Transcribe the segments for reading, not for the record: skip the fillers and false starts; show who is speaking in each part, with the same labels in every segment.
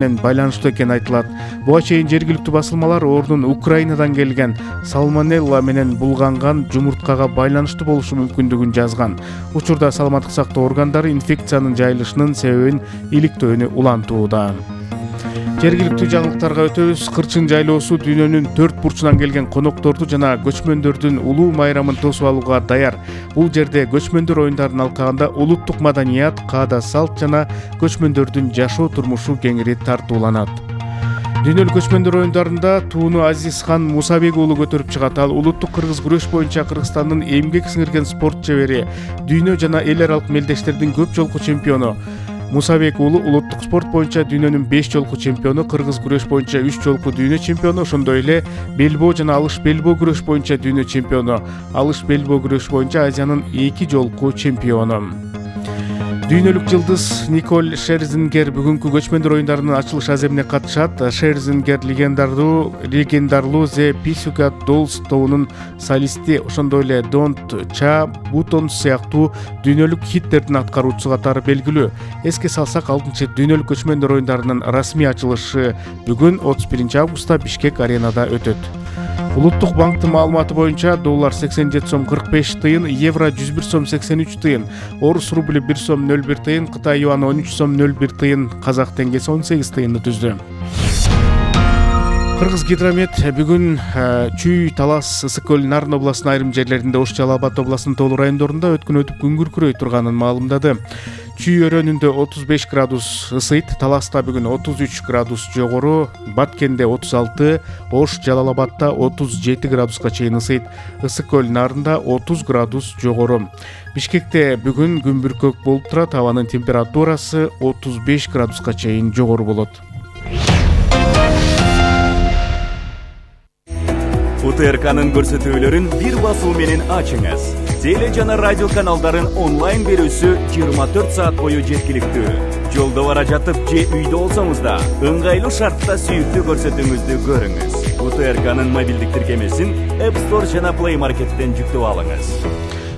Speaker 1: менен байланыштуу экени айтылат. Буга чейин жергиликтүү басылмалар ордун Украинадан келген салмонелла менен булганган жумурткага байланыштуу болушу мүмкүндүгүн жазган. Учурда саламаттык сактоо органдары инфекциянын жайылышынын себебин иликтөөнү улантууда. Жергиликтүү жаңылыктарга өтөбүз. Кырчын жайлоосу дүйнөнүн 4 бурчунан келген конокторду жана көчмөндөрдүн улуу майрамын тосуп алууга даяр. Бул жерде көчмөндөр оюндарын алкаганда улуттук маданият, каада салт жана көчмөндөрдүн жашоо турмушу кеңири тартууланат. Дүйнөлүк көчмөндөр оюндарында тууну Азизхан Мусабек уулу көтөрүп чыгат. Ал улуттук кыргыз күрөш боюнча Кыргызстандын эмгек сиңирген спорт чебери, дүйнө жана эл аралык мелдештердин көп жолку чемпиону. Мусабек уулу улуттук спорт боюнча дүйнөнүн 5 жолку чемпиону, кыргыз күрөш боюнча 3 жолку дүйнө чемпиону, ошондой эле белбоо жана алыш белбоо күрөш боюнча дүйнө чемпиону, алыш белбоо күрөш боюнча Азиянын 2 жолку чемпиону. Дүйнөлүк жылдыз Николь Шерзингер бүгүнкү көчмөндөр оюндарынын ачылыш аземине катышат. Шерзингер легендарлуу The Pussycat Dolls тобунун солисти, ошондой эле Don't Cha Buttons сыяктуу дүйнөлүк хиттердин аткаруучусу катары белгилүү. Эске салсак, 6-чы дүйнөлүк көчмөндөр оюндарынын расмий ачылышы бүгүн 31 августта Бишкек аренада өтөт. Улуттук банктын маалыматы боюнча доллар 87 сом 45 тыйын, евро 101 сом 83 тыйын, орус рубли 1 сом 01 тыйын, Кытай юаны 13 сом 01 тыйын, казак теңгеси 18 тыйынды түздү. Кыргыз гидромет бүгүн Чүй, Талас, Ысык көл, Нарын областынын айрым жерлеринде, Ош, Жалал Абад областынын тоолуу райондорунда өткөн өтүп күн күркүрөй турганын маалымдады. Чүй өрөөнүндө 35 градус ысыйт, Таласта бүгүн 33 градус жогору, Баткенде 36, Ош, Жалал Абадта 37 градуска чейин ысыйт, Ысык көл, Нарында 30 градус жогору. Бишкекте бүгүн күн бүркөк болуп турат, абанын температурасы 35 градуска чейин жогору болот.
Speaker 2: УТРКнын көрсөтүүлөрүн бир басуу менен ачыңыз. Теле жана радио каналдарын онлайн берүүсү 24 саат бою жеткиликтүү. Жолдо бара жатып же үйдө болсоңуз да, ыңгайлуу шартта сүйүктүү көрсөтүүңүздү көрүңүз. УТРКнын мобилдик тиркемесин App Store жана Play Market'тен жүктөп алыңыз.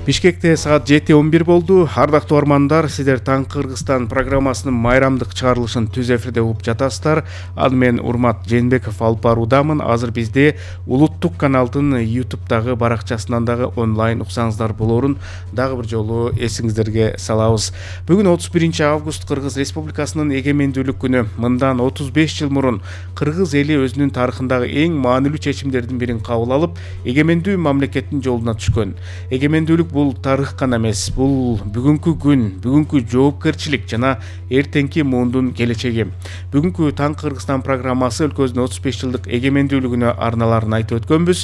Speaker 1: Бишкекте саат 7:11 болду. Ардактуу армандар, сиздер Таңкы Кыргызстан программасынын майрамдык чыгарылышын түз эфирде угуп жатасыздар. Ал мен Урмат Жээнбеков алып баруудамын. Азыр бизди улуттук каналдын YouTube'дагы баракчасынан дагы онлайн уксаңыздар болорун дагы бир жолу эсиңиздерге салабыз. Бүгүн 31 август Кыргыз Республикасынын эгемендүүлүк күнү. Мындан 35 жыл мурун Кыргыз эли өзүнүн тарыхындагы эң маанилүү чечимдердин бирин кабыл алып, эгемендүү мамлекеттин жолуна түшкөн. Эгемендүүлүк бул тарых гана эмес, бул бүгүнкү күн, бүгүнкү жоопкерчилик жана эртеңки муундун келечеги. Бүгүнкү Таңкы Кыргызстан программасы өлкөбүздүн 35 жылдык эгемендүүлүгүнө арналарын айтып өткөнбүз.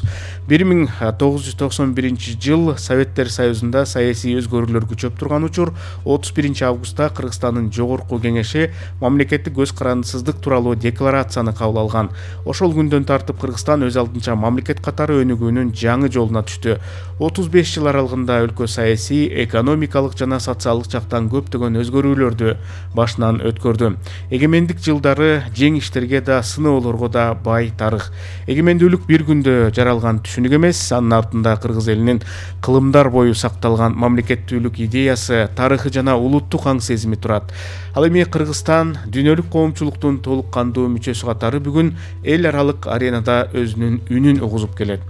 Speaker 1: 1991 жыл Советтер Союзунда саясий өзгөрүүлөр күчөп турган учур 31 августта Кыргызстандын жогорку кеңеши мамлекеттик көз карандысыздык тууралуу декларацияны кабыл алган. Ошол күндөн тартып Кыргызстан өз алдынча мамлекет катары өнүгүүнүн жаңы жолуна түштү. 35 жыл аралыгында өлкө саясий, экономикалык жана социалдык жактан көптөгөн өзгөрүүлөрдү башынан өткөрдү. Эгемендик жылдары жеңиштерге да, сыноолорго да бай тарых. Эгемендүүлүк бир күндө жаралган түшүнүк эмес, анын артында кыргыз элинин кылымдар бою сакталган мамлекеттүүлүк идеясы, тарыхы жана улуттук аң сезими турат. Ал эми Кыргызстан дүйнөлүк коомчулуктун толук кандуу мүчөсү катары бүгүн эл аралык аренада өзүнүн үнүн угузуп келет.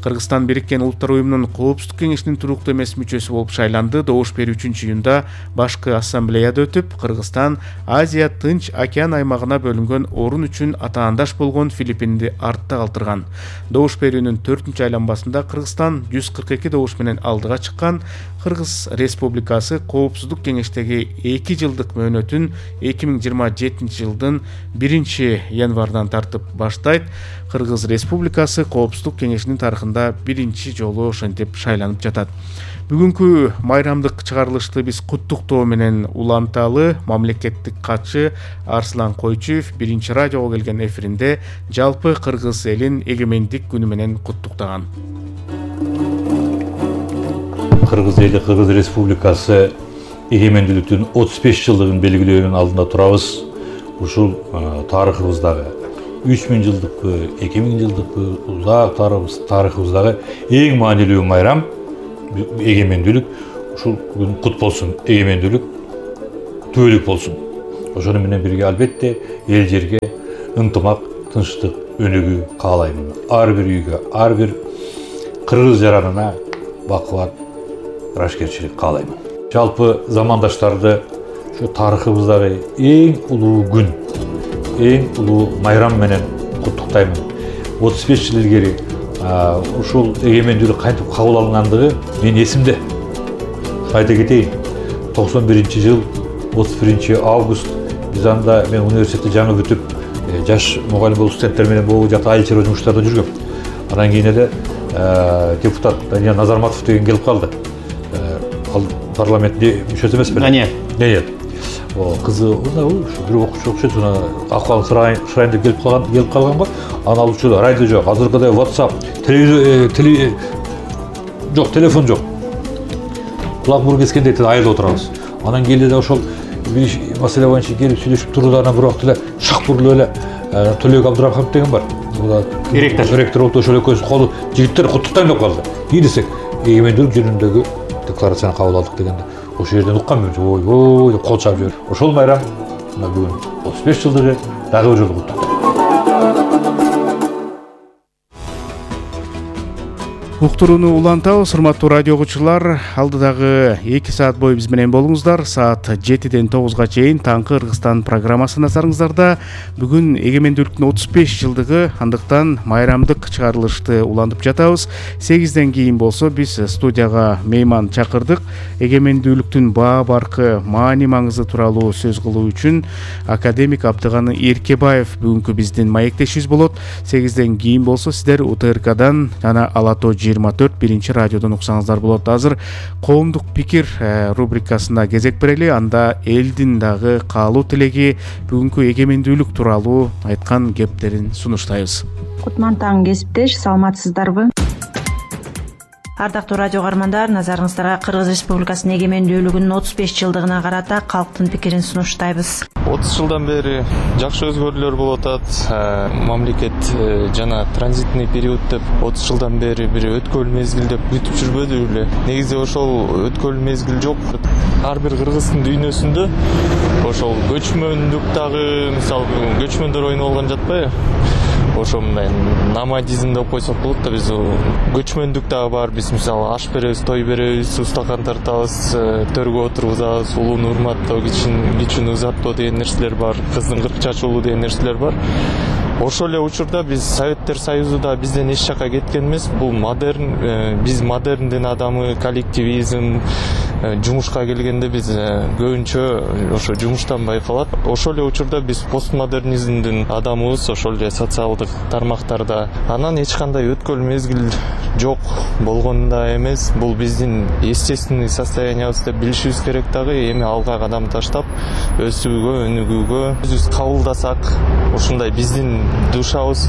Speaker 1: Кыргызстан Бириккен Улуттар уюмунун Коопсуздук кеңешинин туруктуу эмес мүчөсү болуп шайланды. Добуш берүү 3-июнда башкы ассамблеяда өтүп, Кыргызстан Азия Тынч океан аймагына бөлүнгөн орун үчүн атаандаш болгон Филиппинди артта калтырган. Добуш берүүнүн 4-чү айланбасында Кыргызстан 142 добуш менен алдыга чыккан. Кыргыз Республикасы Коопсуздук кеңештеги 2 жылдык мөөнөтүн 2027 жылдын 1-январдан тартып баштайт. Кыргыз Республикасы Коопсуздук кеңешинин тарыхында 1 жолу ошентип шайланып жатат. Бүгүнкү майрамдык чыгарылышты биз куттуктоо менен уланталы. Мамлекеттик катчы Арслан Койчуев 1 радиого келген эфиринде жалпы кыргыз элин эгемендик күнү менен куттуктаган.
Speaker 3: Кыргыз эли, Кыргыз Республикасы эгемендүүлүктүн 35 жылдыгын белгилөөнүн алдында турабыз. Ушул тарыхыбыздагы 3000 жылдыкпы, 2000 жылдыкпы узак тарыхыбыздагы эң маанилүү майрам эгемендүүлүк. Ушул күн кут болсун. Эгемендүүлүк түбөлүк болсун. ошону менен бирге албетте эл жерге ынтымак, тынчтык өнүгүү каалаймын. Ар бир үйгө, ар бир кыргыз жаранына бакубат, ырашкерчилик каалаймын. Жалпы замандаштарды ушу тарыхыбыздагы эң улуу күн, эң улуу майрам менен куттуктаймын. 35 жыл илгери ушул эгемендүүлүк кантип кабыл алынгандыгы мен эсимде. Айта кетейин, 91-жыл 31 август биз анда мен университетти жаңы бүтүп, жаш мугалим болуп студенттер менен могу жакта айыл чарба жумуштарда жүргөм. Анан кийин эле депутат Данияр Назарматов деген келип калды. Ал парламенттин мүчөсү эмес беле? Данияр. Кызы бир окуучу окшойт, акыбалын сурайын деп келип калганго, анан ал учурда радио жок, азыркыдай WhatsApp, телефон жок. Кулак мурун кескендей айылда отурабыз. Анан келди да ошол бир маселе боюнча келип сүйлөшүп турду, анан бир убакта эле шак бурулуп эле Төлөк Абдырахманов деген бар. Ректор болуп ошол экөөбүз колу жигиттер куттуктайм деп калды. И десек, эгемендүүлүк жөнүндөгү декларацияны кабыл алдык дегенде, ошол жерден уккам мен, ой деп кол чаап жиберди. Ошол майрам бүгүн 35 жылдыгы дагы бир жолу куттуктайм.
Speaker 1: Уктурууну улантабыз, урматтуу радио угуучулар. Алдыдагы 2 саат бою биз менен болуңуздар. Саат 7-ден 9-га чейин Таңкы Кыргызстан программасы назарыңыздарда. Бүгүн эгемендүүлүктүн 35 жылдыгы, андыктан майрамдык чыгарылышты улантып жатабыз. 8ден кийин болсо биз студияга мейман чакырдык. Эгемендүүлүктүн баа баркы маани маңызы тууралуу сөз кылуу үчүн академик Абдыганы Эркебаев бүгүнкү биздин маектешибиз болот. 8ден кийин болсо сиздер УТРКдан жана Алато 24 биринчи радиодон уксаңыздар болот. Азыр коомдук пикир рубрикасына кезек берели. Анда элдин дагы каалуу тилеги бүгүнкү эгемендүүлүк тууралуу айткан кептерин сунуштайбыз.
Speaker 4: Кутман таң кесиптеш, саламатсыздарбы? Ардактуу радио каармандар, назарыңыздарга Кыргыз Республикасынын эгемендүүлүгүнүн 35 жылдыгына карата калктын пикирин сунуштайбыз.
Speaker 5: 30 жылдан бери жакшы өзгөрүүлөр болуп атат. Мамлекет жана транзитный период деп 30 жылдан бери бир өткөл мезгил деп күтүп жүрбөдү беле. Негизи ошол өткөл мезгил жок. Ар бир кыргыздын дүйнөсүндө ошол көчмөндүк дагы, мисалы, көчмөндөр ойноп алган жатпайбы? Ошо мындай номадизм деп койсок болот да, биз көчмөндүк дагы бар. Биз мисалы аш беребиз, той беребиз, устакан тартабыз, төргө отургузабыз, улууну урматтоо, кичүүнү узаттоо деген нерселер бар, кыздын кырк чачуулу деген нерселер бар. Ошол эле учурда биз Советтер Союзу да бизден эч жакка кеткен эмес. Бул модерн, биз модерндин адамы, коллективизм, жумушка келгенде биз көбүнчө ошо жумуштан байкалат. Ошол эле учурда биз постмодернизмдин адамыбыз, ошол эле социалдык тармактарда. Анан эч кандай өткөл мезгил жок болгон да эмес. Бул биздин естественный состояниябыз деп билишибиз керек дагы. Эми алга кадам таштап, өсүүгө, өнүгүүгө өзүбүз кабылдасак, ушундай биздин душабыз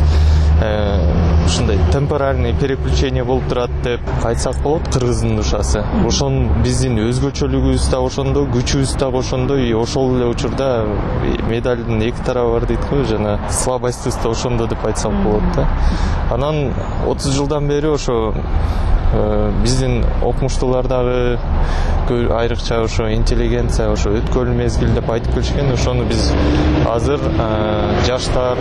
Speaker 5: ушундай темпоральный переключение болуп турат деп айтсак болот. Кыргыздын душасы ошон биздин өзгөчөлүгүбүз да ошондо, күчүбүз да ошондой. Ошол эле учурда медалдын эки тарабы бар дейт го, жана слабостьбыз да ошондо деп айтсак болот да. Анан 30 жылдан бери ошо биздин окумуштуулар дагы айрыкча ошо интеллигенция, ошо өткөл мезгил деп айтып келишкен. Ошону биз азыр жаштар,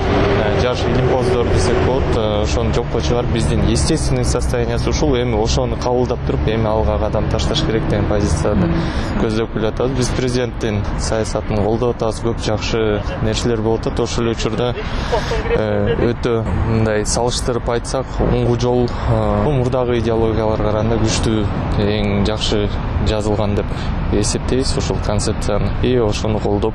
Speaker 5: жаш илимпоздор десек болот, ошону жокко чыгарып, биздин естественный состояниясы ушул. Эми ошону кабылдап туруп, эми алга кадам ташташ керек деген позицияны көздөп келатабыз. Биз президенттин саясатын колдоп атабыз, көп жакшы нерселер болуп атат. Ошол эле учурда өтө мындай салыштырып айтсак, оңгу жол мурдагы идеологияларга караганда күчтүү, эң жакшы жазылган деп эсептейбиз ошол концепцияны. И ошону колдоп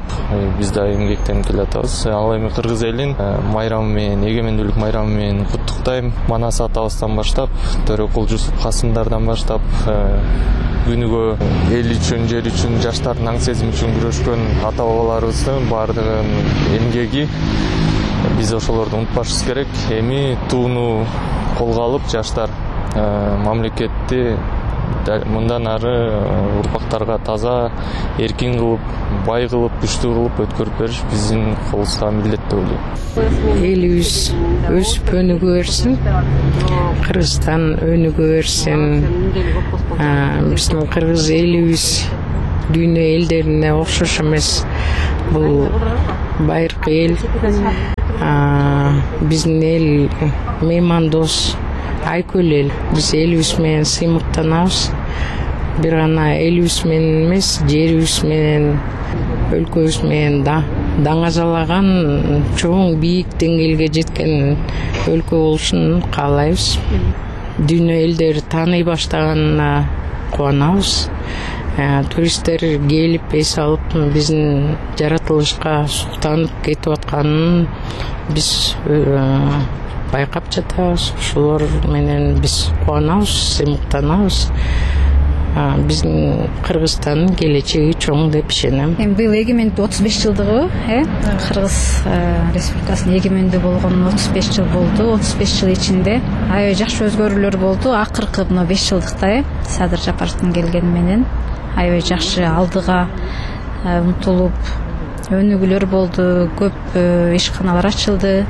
Speaker 5: биз да эмгектенип келатабыз. Ал эми кыргыз элин майрамы менен, эгемендүүлүк майрамы менен куттуктайм. Манас атабыздан баштап, Төрөкул Жусуп Касымдардан баштап, күнүгө эл үчүн, жер үчүн, жаштардын аң сезими үчүн күрөшкөн ата бабаларыбыздын баардыгынын эмгеги, биз ошолорду унутпашыбыз керек. Эми тууну колго алып, жаштар мамлекетти мындан ары урпактарга таза, эркин кылып, бай кылып, күчтүү кылып өткөрүп бериш биздин колубузга милдет деп ойлойм.
Speaker 6: Элибиз өсүп өнүгө берсин, Кыргызстан өнүгө берсин, биздин кыргыз элибиз дүйнө элдерине окшош эмес. Бул байыркы эл, биздин эл меймандос, айкөл эл. Биз элибиз менен сыймыктанабыз. Бир гана элибиз менен эмес, жерибиз менен, өлкөбүз менен даңазалаган чоң бийик деңгээлге жеткен өлкө болушун каалайбыз. Дүйнө элдери тааный баштаганына кубанабыз. Туристтер келип эс алып биздин жаратылышка суктанып кетип атканын биз байкап жатабыз. Ошолор менен биз кубанабыз, сыймыктанабыз. Биздин Кыргызстандын келечеги чоң деп ишенем.
Speaker 7: Быйыл эгемендүү 35 жылдыгы, Кыргыз Республикасынын эгемендүү болгонуна 35 жыл болду. 35 жыл ичинде аябай жакшы өзгөрүүлөр болду. Акыркы мына 5 жылдыкта Садыр Жапаровдун келгени менен аябай жакшы алдыга умтулуп өнүгүүлөр болду. Көп ишканалар ачылды.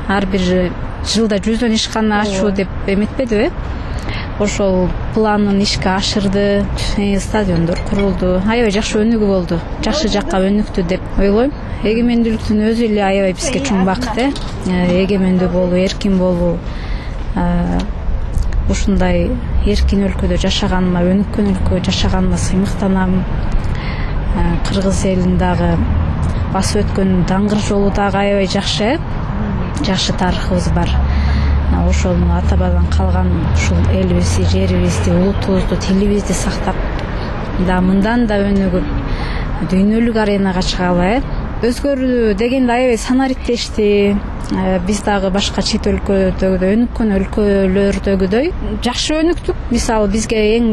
Speaker 7: Ар бир жылда 100 ишкана ачуу деп эметпедиби? Ошол планын ишке ашырды, стадиондор курулду. Аябай жакшы өнүгүү болду. Жакшы жакка өнүктү деп ойлойм. Эгемендүүлүктүн өзү эле аябай бизге чоң бакыт. Эгемендүү болуу, эркин болуу. Ушундай эркин өлкөдө жашаганыма, өнүккөн өлкөдө жашаганыма сыймыктанам. Кыргыз элин дагы басып өткөн даңгыр жолу дагы аябай жакшы. Жакшы тарыхыбыз бар. Ошону ата бабадан калган ушул элибизди, жерибизди, улутубузду, тилибизди сактап, мындан да өнүгүп дүйнөлүк аренага чыгалы. Өзгөрүү дегенде аябай санариктешти. Биз дагы башка чет өлкөдөгүдөй, өнүккөн өлкөлөрдөгүдөй жакшы өнүктүк. Мисалы бизге эң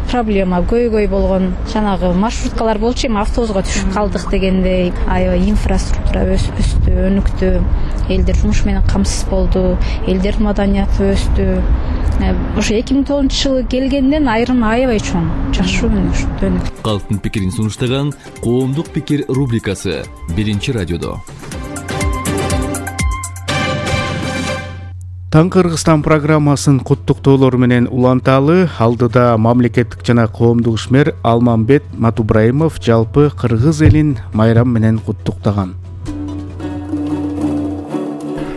Speaker 7: проблема көйгөй болгон жанагы маршруткалар болчу, эми автобуска түшүп калдык дегендей. Аябай инфраструктура өстү, өнүктү. Элдер жумуш менен камсыз болду, элдердин маданияты өстү. Ошо 2009 жылы келгенден айрым аябай чоң жакшы өнүктү.
Speaker 8: Калктын пикирин сунуштаган Коомдук пикир рубрикасы биринчи радиодо.
Speaker 1: Таң Кыргызстан программасын куттуктоолор менен уланталы. Алдыда мамлекеттик жана коомдук ишмер Алмамбет Матубраимов жалпы кыргыз элин майрам менен куттуктаган.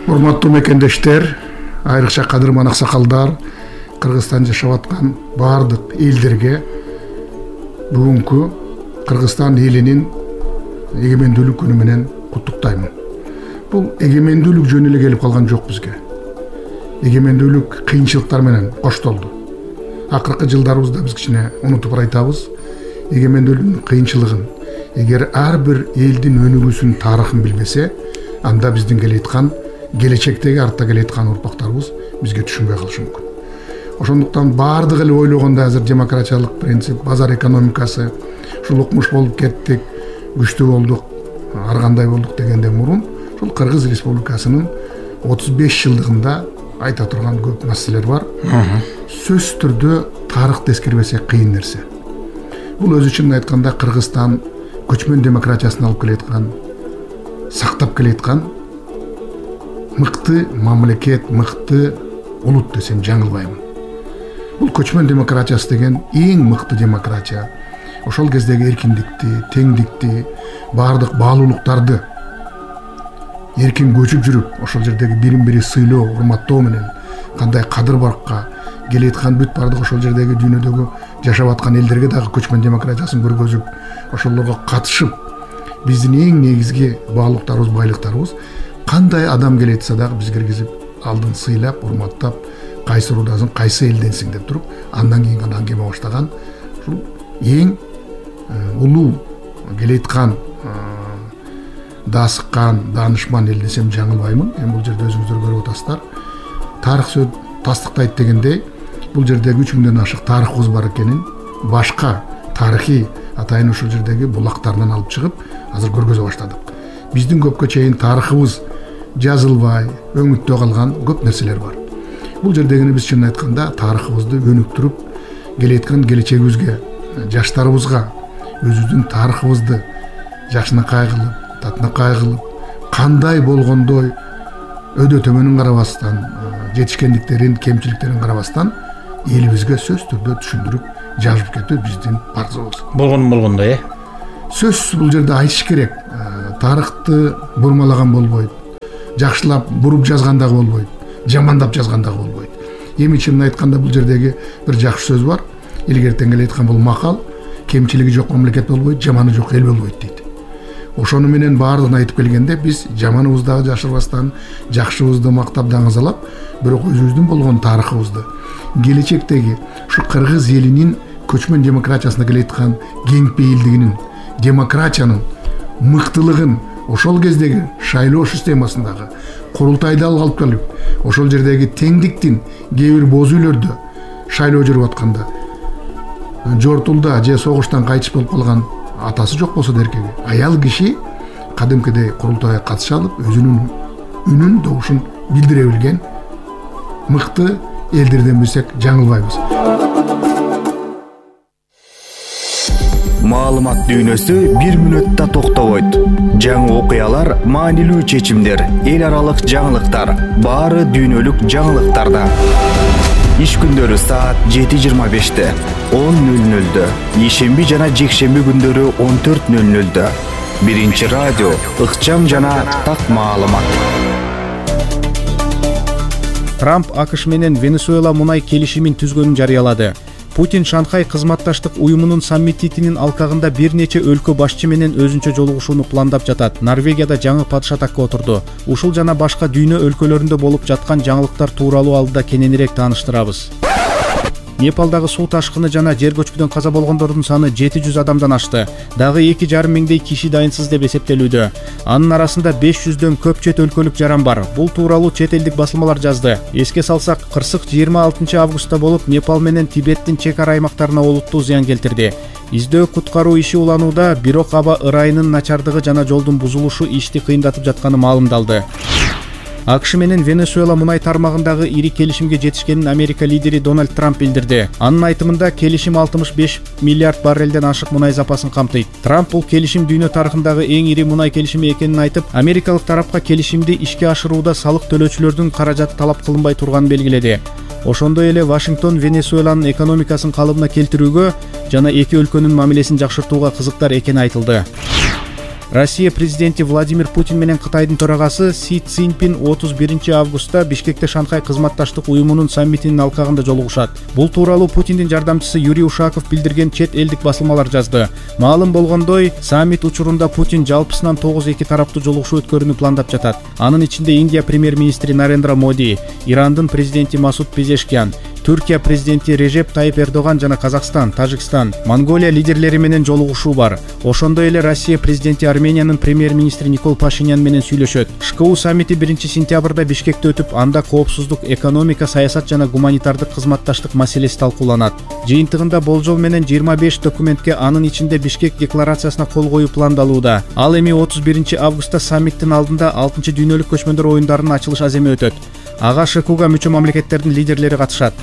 Speaker 9: Урматтуу мекендештер, айрыкча кадырман аксакалдар, Кыргызстан жашап аткан баардык элдерге бүгүнкү Кыргызстан элинин эгемендүүлүк күнү менен куттуктаймын. Бул эгемендүүлүк жөн эле келип калган жок бизге. Эгемендүүлүк кыйынчылыктар менен коштолду. Акыркы жылдарыбызда биз кичине унутуп айтабыз. Эгемендүүлүктүн кыйынчылыгын. Эгер ар бир элдин өнүгүүсүнүн тарыхын билбесе, анда биздин келеаткан келечектеги артта келеаткан урпактарыбыз бизге түшүнбөй калышы мүмкүн. Ошондуктан баардык эле ойлогондо азыр демократиялык принцип, базар экономикасы, ушул укмуш болуп кеттик, күчтүү болдук, ар кандай болдук дегенден мурун, ушул Кыргыз Республикасынын 35 жылдыгында айта турган көп маселелер бар. Сөзсүз түрдө тарыхты эскербесек кыйын нерсе. Бул өзү үчүн айтканда Кыргызстан көчмөн демократиясын алып келеаткан, сактап келеаткан мыкты мамлекет, мыкты улут десем жаңылбаймын. Бул көчмөн демократиясы деген эң мыкты демократия. Ошол кездеги эркиндикти, теңдикти, баардык баалуулуктарды эркин көчүп жүрүп, ошол жердеги бирин-бири сыйлоо, урматтоо менен кандай кадыр-баркка келеаткан бүт баардык ошол жердеги дүйнөдөгү жашап аткан элдерге дагы көчмөн демократиясын көргөзүп, ошолорго катышып, биздин эң негизги баалуулуктарыбыз, байлыктарыбыз кандай адам келетсе дагы биз киргизип, алдын сыйлап, урматтап, кайсы урудасың, кайсы элденсиң деп туруп, андан кийин гана аңгеме баштаган ушул эң улуу келеаткан даасыккан, даанышман эл десем жаңылбаймын. Эми бул жерде өзүңүздөр көрүп атасыздар. Тарых сөз тастыктайт дегендей, бул жердеги 3000ден ашык тарыхыбыз бар экенин, башка тарыхый атайын ошол жердеги булактарынан алып чыгып, азыр көргөзө баштадык. Биздин көпкө чейин тарыхыбыз жазылбай, өңүттө калган көп нерселер бар. Бул жердегини биз чынын айтканда тарыхыбызды өнүктүрүп, келеаткан келечегибизге, жаштарыбызга өзүбүздүн тарыхыбызды жакшынакай кылып, татынакай кылып, кандай болгондой өдө төмөнүн карабастан, жетишкендиктерин, кемчиликтерин карабастан элибизге сөзсүз түрдө түшүндүрүп жазып кетүү биздин парзыбыз.
Speaker 3: болгондо
Speaker 9: Сөзсүз бул жерде айтыш керек. Тарыхты бурмалаган болбойт. Жакшылап буруп жазган дагы болбойт. Жамандап жазган дагы болбойт. Эми чынын айтканда бул жердеги бир жакшы сөз бар. Илгертен эле айткан бул макал: кемчилиги жок мамлекет болбойт, жаманы жок эл болбойт дейт. Ошону менен баардыгын айтып келгенде биз жаманыбызды жашырбастан, жакшыбызды мактап даңазалап, бирок өзүбүздүн болгон тарыхыбызды, келечектеги ушу кыргыз элинин көчмөн демократиясына келеаткан кеңпейилдигинин, демократиянын мыктылыгын, ошол кездеги шайлоо системасындагы курултайда алып келип, ошол жердеги теңдиктин кээ бир боз үйлөрдө шайлоо жүрүп атканда жортулда же согуштан кайтыш болуп калган атасы жок болсо деркеги аял киши кадимкидей курултайга катыша алып, өзүнүн үнүн, добушун билдире билген мыкты элдерден билсек жаңылбайбыз.
Speaker 2: Маалымат дүйнөсү 1 мүнөттө токтобойт. Жаңы окуялар, маанилүү чечимдер, эл аралык жаңылыктар, баары дүйнөлүк жаңылыктарда. Иш күндөрү саат 7:25, 10:00, ишемби жана жекшемби күндөрү 14:00. Биринчи радио, ыкчам жана так маалымат.
Speaker 1: Трамп АКШ менен Венесуэла мунай келишимин түзгөнүн жарыялады. Путин Шанхай кызматташтык уюмунун саммитинин алкагында бир нече өлкө башчы менен өзүнчө жолугушууну пландап жатат. Норвегияда жаңы падыша такка отурду. Ушул жана башка дүйнө өлкөлөрүндө болуп жаткан жаңылыктар тууралуу алдыда кененирээк тааныштырабыз. Непалдагы суу ташкыны жана жер көчкүдөн каза болгондордун саны 700 адамдан ашты. Дагы 2,5 миңдей киши дайынсыз деп эсептелүүдө. Анын арасында 500дөн көп чет өлкөлүк жаран бар. Бул тууралуу чет элдик басылмалар жазды. Эске салсак, кырсык 26 августта болуп, Непал менен Тибеттин чек ара аймактарына олуттуу зыян келтирди. Издөө куткаруу иши уланууда, бирок аба ырайынын начардыгы жана жолдун бузулушу ишти кыйындатып жатканы маалымдалды. АКШ менен Венесуэла мунай тармагындагы ири келишимге жетишкенин Америка лидери Дональд Трамп билдирди. Анын айтымында келишим 65 миллиард баррелден ашык мунай запасын камтыйт. Трамп бул келишим дүйнө тарыхындагы эң ири мунай келишими экенин айтып, америкалык тарапка келишимди ишке ашырууда салык төлөөчүлөрдүн каражаты талап кылынбай турганын белгиледи. Ошондой эле Вашингтон Венесуэланын экономикасын калыбына келтирүүгө жана эки өлкөнүн мамилесин жакшыртууга кызыктар экени айтылды. Россия президенти Владимир Путин менен Кытайдын төрагасы Си Цзиньпин 31 августта Бишкекте Шанхай кызматташтык уюмунун саммитинин алкагында жолугушат. Бул тууралуу Путиндин жардамчысы Юрий Ушаков билдирген чет элдик басылмалар жазды. Маалым болгондой, саммит учурунда Путин жалпысынан 9 эки тараптуу жолугушуу өткөрүүнү пландап жатат. Анын ичинде Индия премьер-министри Нарендра Моди, Ирандын президенти Масуд Пезешкян, Түркия президенти Режеп Тайып Эрдоган жана Казакстан, Тажикстан, Монголия лидерлери менен жолугушуу бар. Ошондой эле Россия президенти Армениянын премьер-министри Никол Пашинян менен сүйлөшөт. ШКУ саммити 1 сентябрда Бишкекте өтүп, анда коопсуздук, экономика, саясат жана гуманитардык кызматташтык маселеси талкууланат. Жыйынтыгында болжол менен 25 документке, анын ичинде Бишкек декларациясына кол коюу пландалууда. Ал эми 31 августта саммиттин алдында 6 дүйнөлүк көчмөндөр оюндарынын ачылыш аземи өтөт. Ага ШКУга мүчө мамлекеттердин лидерлери катышат.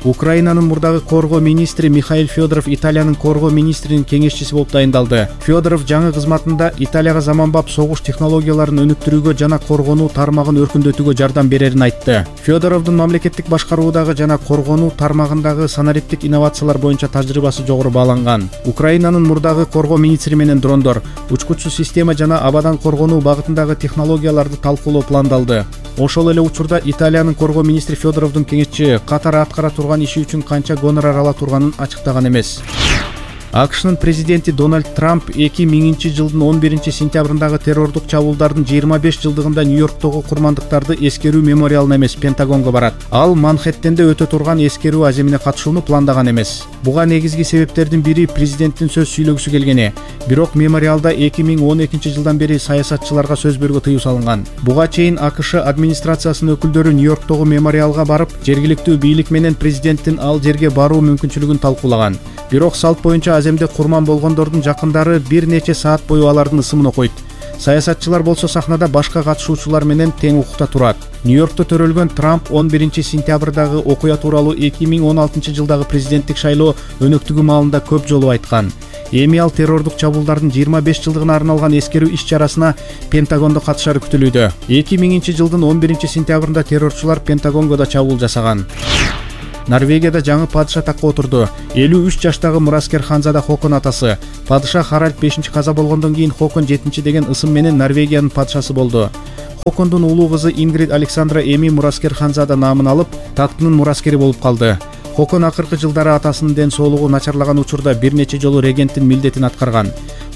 Speaker 1: Украинанын мурдагы коргоо министри Михаил Федоров Италиянын коргоо министринин кеңешчиси болуп дайындалды. Федоров жаңы кызматында Италияга заманбап согуш технологияларын өнүктүрүүгө жана коргонуу тармагын өркүндөтүүгө жардам берерин айтты. Федоровдун мамлекеттик башкаруудагы жана коргонуу тармагындагы санариптик инновациялар боюнча тажрыйбасы жогору бааланган. Украинанын мурдагы коргоо министри менен дрондор, учкучсуз система жана абадан коргонуу багытындагы технологияларды талкуулоо пландалды. Ошол эле учурда Италиянын коргоо министри Федоровдун кеңешчи катары аткара турган иши үчүн канча гонорар ала турганын ачыктаган эмес. АКШнын президенти Дональд Трамп 2000 жылдын 11 сентябрындагы террордук чабуулдардын 25 жылдыгында Нью-Йорктогу курмандыктарды эскерүү мемориалына эмес, Пентагонго барат. Ал Манхэттенде өтө турган эскерүү аземине катышууну пландаган эмес. Буга негизги себептердин бири президенттин сөз сүйлөгүсү келгени. Бирок мемориалда 2012 жылдан бери саясатчыларга сөз берүүгө тыюу салынган. Буга чейин АКШ администрациясынын өкүлдөрү Нью-Йорктогу мемориалга барып, жергиликтүү бийлик менен президенттин ал жерге баруу мүмкүнчүлүгүн талкуулаган. Бирок салт боюнча аземде курман болгондордун жакындары бир нече саат бою алардын ысымын окуйт. Саясатчылар болсо сахнада башка катышуучулар менен тең укукта турат. Нью-Йоркто төрөлгөн Трамп 11 сентябрдагы окуя тууралуу 2016 жылдагы президенттик шайлоо өнөктүгү маалында көп жолу айткан. Эми ал террордук чабуулдардын 25 жылдыгына арналган эскерүү иш-чарасына Пентагондо катышары күтүлүүдө. 2000 жылдын 11 сентябрында террорчулар Пентагонго да чабуул жасаган. Норвегияда жаңы падыша такка отурду. 53 жаштагы мураскер ханзада Хокон атасы. Падыша Харальд 5 каза болгондон кийин Хокон 7 деген ысым менен Норвегиянын падышасы болду. Хокондун улуу кызы Ингрид Александра эми мураскер ханзада наамын алып, таттынын мураскери болуп калды. Хокон акыркы жылдары атасынын ден соолугу начарлаган учурда бир нече жолу регенттин милдетин аткарган.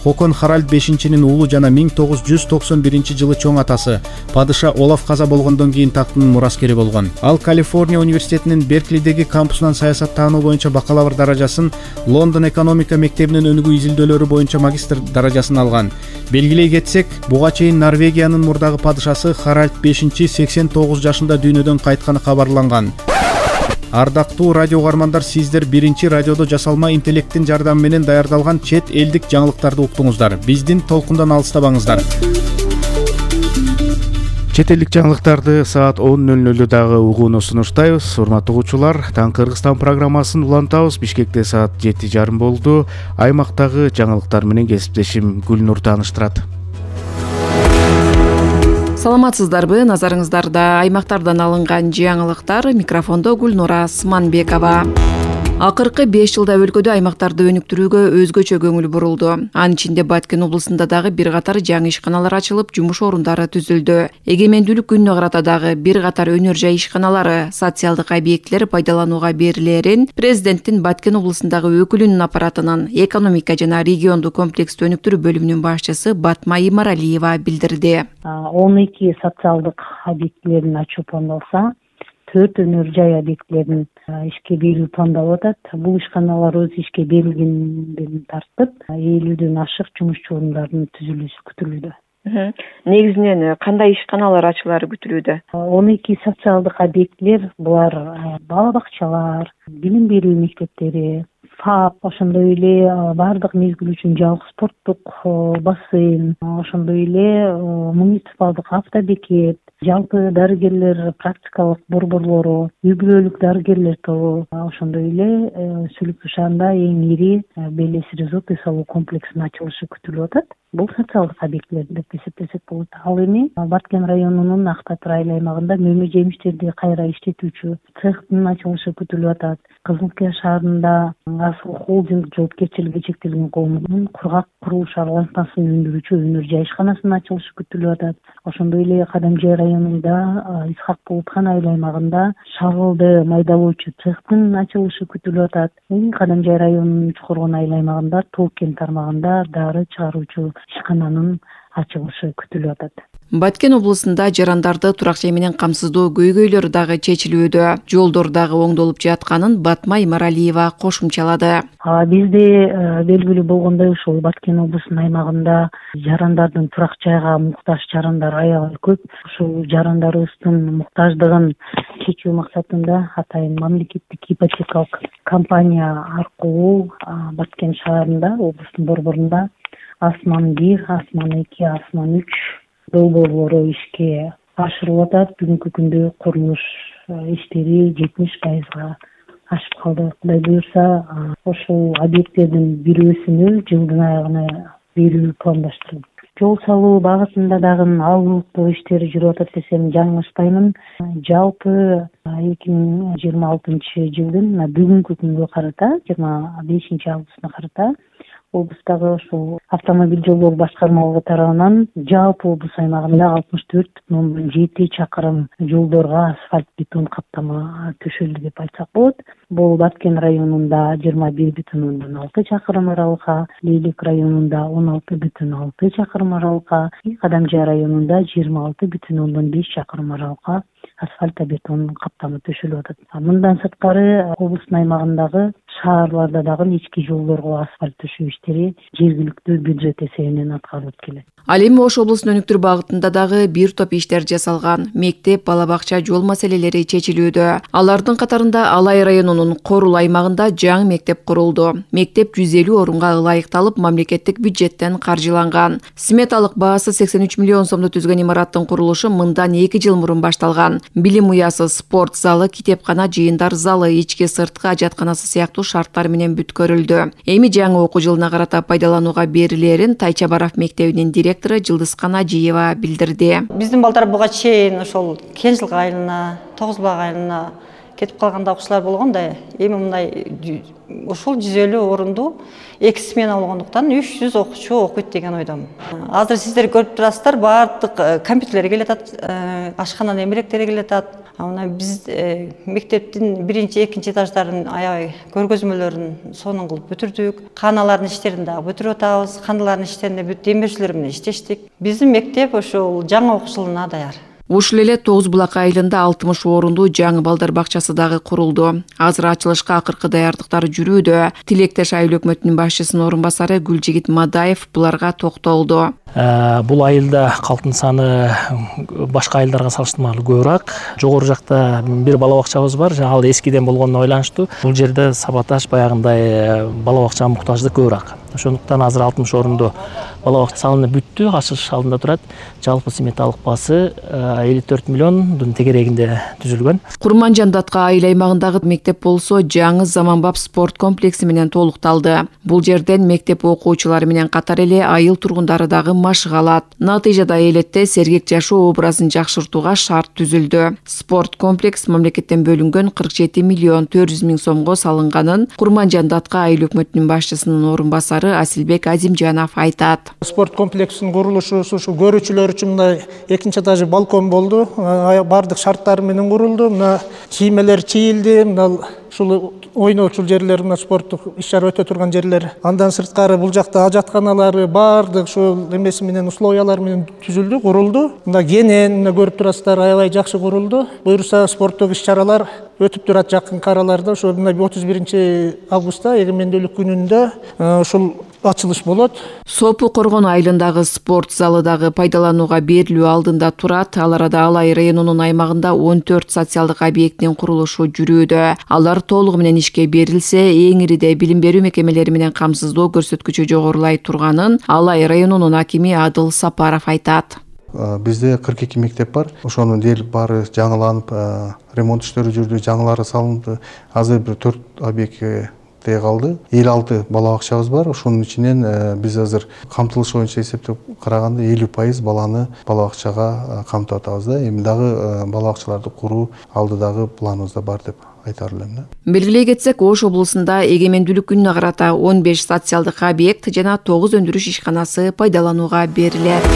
Speaker 1: Хокон Харальд 5-нин уулу жана 1991-жылы чоң атасы. Падыша Олаф каза болгондон кийин тактынын мураскери болгон. Ал Калифорния университетинин Берклидеги кампусунан саясаттануу боюнча бакалавр даражасын, Лондон экономика мектебинин өнүгүү изилдөөлөрү боюнча магистр даражасын алган. Белгилей кетсек, буга чейин Норвегиянын мурдагы падышасы Харальд 5 89 жашында дүйнөдөн кайтканы кабарланган. Ардактуу радио угармандар, сиздер биринчи радиодо жасалма интеллекттин жардамы менен даярдалган чет элдик жаңылыктарды уктуңуздар. Биздин толкундан алыстабаңыздар. Чет элдик жаңылыктарды саат 10:00 дагы угууну сунуштайбыз. Урматтуу угуучулар, Таң Кыргызстан программасын улантабыз. Бишкекте саат 7:30 болду. Аймактагы жаңылыктар менен кесиптешим Гүлнур тааныштырат.
Speaker 10: Саламатсыздарбы? Назарыңыздарда аймактардан алынган жаңылыктар. Микрофондо Гүлнура Сманбекова. Акыркы 5 жылда өлкөдө аймактарды өнүктүрүүгө өзгөчө көңүл бурулду. Анын ичинде Баткен облусунда дагы бир катар жаңы ишканалар ачылып, жумуш орундары түзүлдү. Эгемендүүлүк күнүнө карата дагы бир катар өнөр жай ишканалары, социалдык объектилер пайдаланууга берилерин президенттин Баткен облусундагы өкүлүнүн аппаратынын экономика жана региондук комплекстүү өнүктүрүү бөлүмүнүн башчысы Батма Имаралиева билдирди.
Speaker 11: 12 социалдык объектилерин ачуу пландалса, 4 өнөр жай объектилерин ишке берүү пландалып атат. Бул ишканалар өз ишке берилгенден тартып, 50ден ашык жумушчу орундардын түзүлүшү күтүлүүдө.
Speaker 10: Негизинен кандай ишканалар ачылары күтүлүүдө?
Speaker 11: 12 социалдык объектилер, булар бала бакчалар, билим берүү мектептери, ФАП, ошондой эле баардык мезгил үчүн жабык спорттук бассейн, ошондой эле муниципалдык автобекет, жалпы дарыгерлер практикалык борборлору, үй-бүлөлүк дарыгерлер тобу, ошондой эле Сүлүкчү шаарында эң ири Белес резорт үй салуу комплексинин ачылышы күтүлүп атат. Бул социалдык объектилер деп эсептесек болот. Ал эми Баткен районунун Актатыр айыл аймагында мөмө жемиштерди кайра иштетүүчү цехтин ачылышы күтүлүп атат. Кызылкия шаарында Асыл холдинг жоопкерчилиги чектелген коомунун кургак курулуш аралашмасын өндүрүүчү өнөр жай ишканасынын ачылышы күтүлүп атат. Ошондой эле Кадамжай районунда Исхак Булутхан айыл аймагында шагылды майдалоочу цехтин ачылышы күтүлүп атат. Кадамжай районунун Чукургон айыл аймагында Толкен тармагында дары чыгаруучу ишкананын ачылышы күтүлүп атат.
Speaker 10: Баткен облусунда жарандарды турак жай менен камсыздоо көйгөйлөрү дагы чечилүүдө. Жолдор дагы оңдолуп жатканын Батма Имаралиева кошумчалады.
Speaker 11: Бизде белгилүү болгондой ушул Баткен облусунун аймагында жарандардын турак жайга муктаж жарандар аябай көп. Ушул жарандарыбыздын муктаждыгын чечүү максатында атайын мамлекеттик ипотекалык компания аркылуу Баткен шаарында, облустун борборунда Асман 1, Асман 2, Асман 3 долбоорлору ишке ашырылып атат. Бүгүнкү күндө курулуш иштери 70% ашып калды. Кудай буюрса, ошол объекттердин бирөөсүнө жылдын аягына берүү пландаштырылды. Жол салуу багытында дагы алыктуу иштери жүрүп атат десем жаңылышпаймын. Жалпы 2026 жылдын бүгүнкү күнгө карата, 25 августуна карата облустагы ошол автомобиль жолдор башкармалыгы тарабынан жалпы облус аймагында 64,7 чакырым жолдорго асфальт бетон каптама төшөлдү деп айтсак болот. Бул Баткен районунда 21,6 чакырым аралыкка, Лейлек районунда 16,6 чакырым аралыкка, Кадамжай районунда 26,5 чакырым аралыкка асфальт бетон каптама төшөлүп атат. Мындан сырткары облустун аймагындагы шаарларда дагы ички жолдорго асфальт төшөө иштери жергиликтүү бюджет эсебинен аткарылып келет.
Speaker 10: Ал эми Ош облусунун өнүктүрүү багытында дагы бир топ иштер жасалган. Мектеп, бала бакча, жол маселелери чечилүүдө. Алардын катарында Алай районунун Корул аймагында жаңы мектеп курулду. Мектеп 150 орунга ылайыкталып, мамлекеттик бюджеттен каржыланган. Сметалык баасы 83 миллион сомду түзгөн имараттын курулушу мындан 2 жыл мурун башталган. Билим уясы, спорт залы, китепкана, жыйындар залы, ички сырткы ажатканасы сыяктуу шарттар менен бүткөрүлдү. Эми жаңы окуу жылына карата пайдаланууга берилерин Тайчабаров мектебинин директору Жылдыскана Жиева билдирди.
Speaker 12: Биздин балдар буга чейин ошол Кенжил айылына, Тогузбак айылына кетип калган да окуучулар болгон да. Эми мындай ушул 150 орунду 2 смена болгондуктан 300 окуучу окуйт деген ойдомун. Азыр сиздер көрүп турасыздар, баардык компьютерлер келатат, ашкананын эмеректери келатат. Мына биз мектептин 1-2 этаждарын аябай көргөзмөлөрүн сонун кылып бүтүрдүк. Каналардын иштерин дагы бүтүрүп атабыз. Каналардын иштеринде бүт демирчилер менен иштештик. Биздин мектеп ошол жаңы окуш жылына даяр.
Speaker 10: Ушул эле Тоғыз Булак айылында 60 орунду жаңы балдар бакчасы дагы курулду. Азыр ачылышка акыркы даярдыктар жүрүүдө. Тилектеш айыл өкмөтүнүн башчысынын орун басары Гүлжигит Мадаев буларга токтолду.
Speaker 13: Бул айылда калктын саны башка айылдарга салыштырмалуу көбүрөөк. Жогору жакта бир бала бакчабыз бар, ал эскиден болгонуна байланыштуу. Бул жерде сабаташ баягындай бала бакчага муктаждык көбүрөөк. Ошондуктан азыр 60 орунду бала бакча салынып бүттү, ачылыш алдында турат. Жалпы сметалык баасы 54 миллиондун тегерегинде түзүлгөн.
Speaker 10: Курманжан Датка айыл аймагындагы мектеп болсо жаңы заманбап спорт комплекси менен толукталды. Бул жерден мектеп окуучулары менен катар эле айыл тургундары дагы машыга алат. Натыйжада элетте сергек жашоо образын жакшыртууга шарт түзүлдү. Спорт комплекс мамлекеттен бөлүнгөн 47 миллион 400 миң сомго салынганын Курманжан Датка айыл өкмөтүнүн башчысынын орун басары Асилбек Азимжанов айтат.
Speaker 14: Спорт комплексинин курулушу ушул көрүүчүлөр үчүн мындай экинчи этажы балкон болду. Бардык шарттары менен курулду. Мына кийимелер чийилди. Мына ушул ойноочул жерлер, мына спорттук иш-чара өтө турган жерлер. Андан сырткары бул жакта ажатканалары бардык ушул эмеси менен условиялар менен түзүлдү, курулду. Мына кенен, мына көрүп турасыздар, аябай жакшы курулду. Буюрса спорттук иш-чаралар өтүп турат жакынкы араларда. Ошо мына 31 августта эгемендүүлүк күнүндө ушул ачылыш болот.
Speaker 10: Сопу Коргон айылындагы спорт залы дагы пайдаланууга берилүү алдында турат. Ал арада Алай районунун аймагында 14 социалдык объекттин курулушу жүрүүдө. Алар толугу менен ишке берилсе, эң ириде билим берүү мекемелери менен камсыздоо көрсөткүчү жогорулай турганын Алай районунун акими Адыл Сапаров айтат.
Speaker 15: Бизде 42 мектеп бар. Ошонун дээрлик баары жаңыланып, ремонт иштери жүрдү, жаңылары салынды. Азыр бир 4 объектке калды. 56 бала бакчабыз бар. Ошонун ичинен биз азыр камтылыш боюнча эсептеп караганда 50% баланы бала бакчага камтып атабыз да. Эми дагы бала бакчаларды куруу алдыдагы планыбызда бар деп айтар элем.
Speaker 10: Белгилей кетсек, Ош облусунда эгемендүүлүк күнүнө карата 15 социалдык объект жана 9 өндүрүш ишканасы пайдаланууга берилет.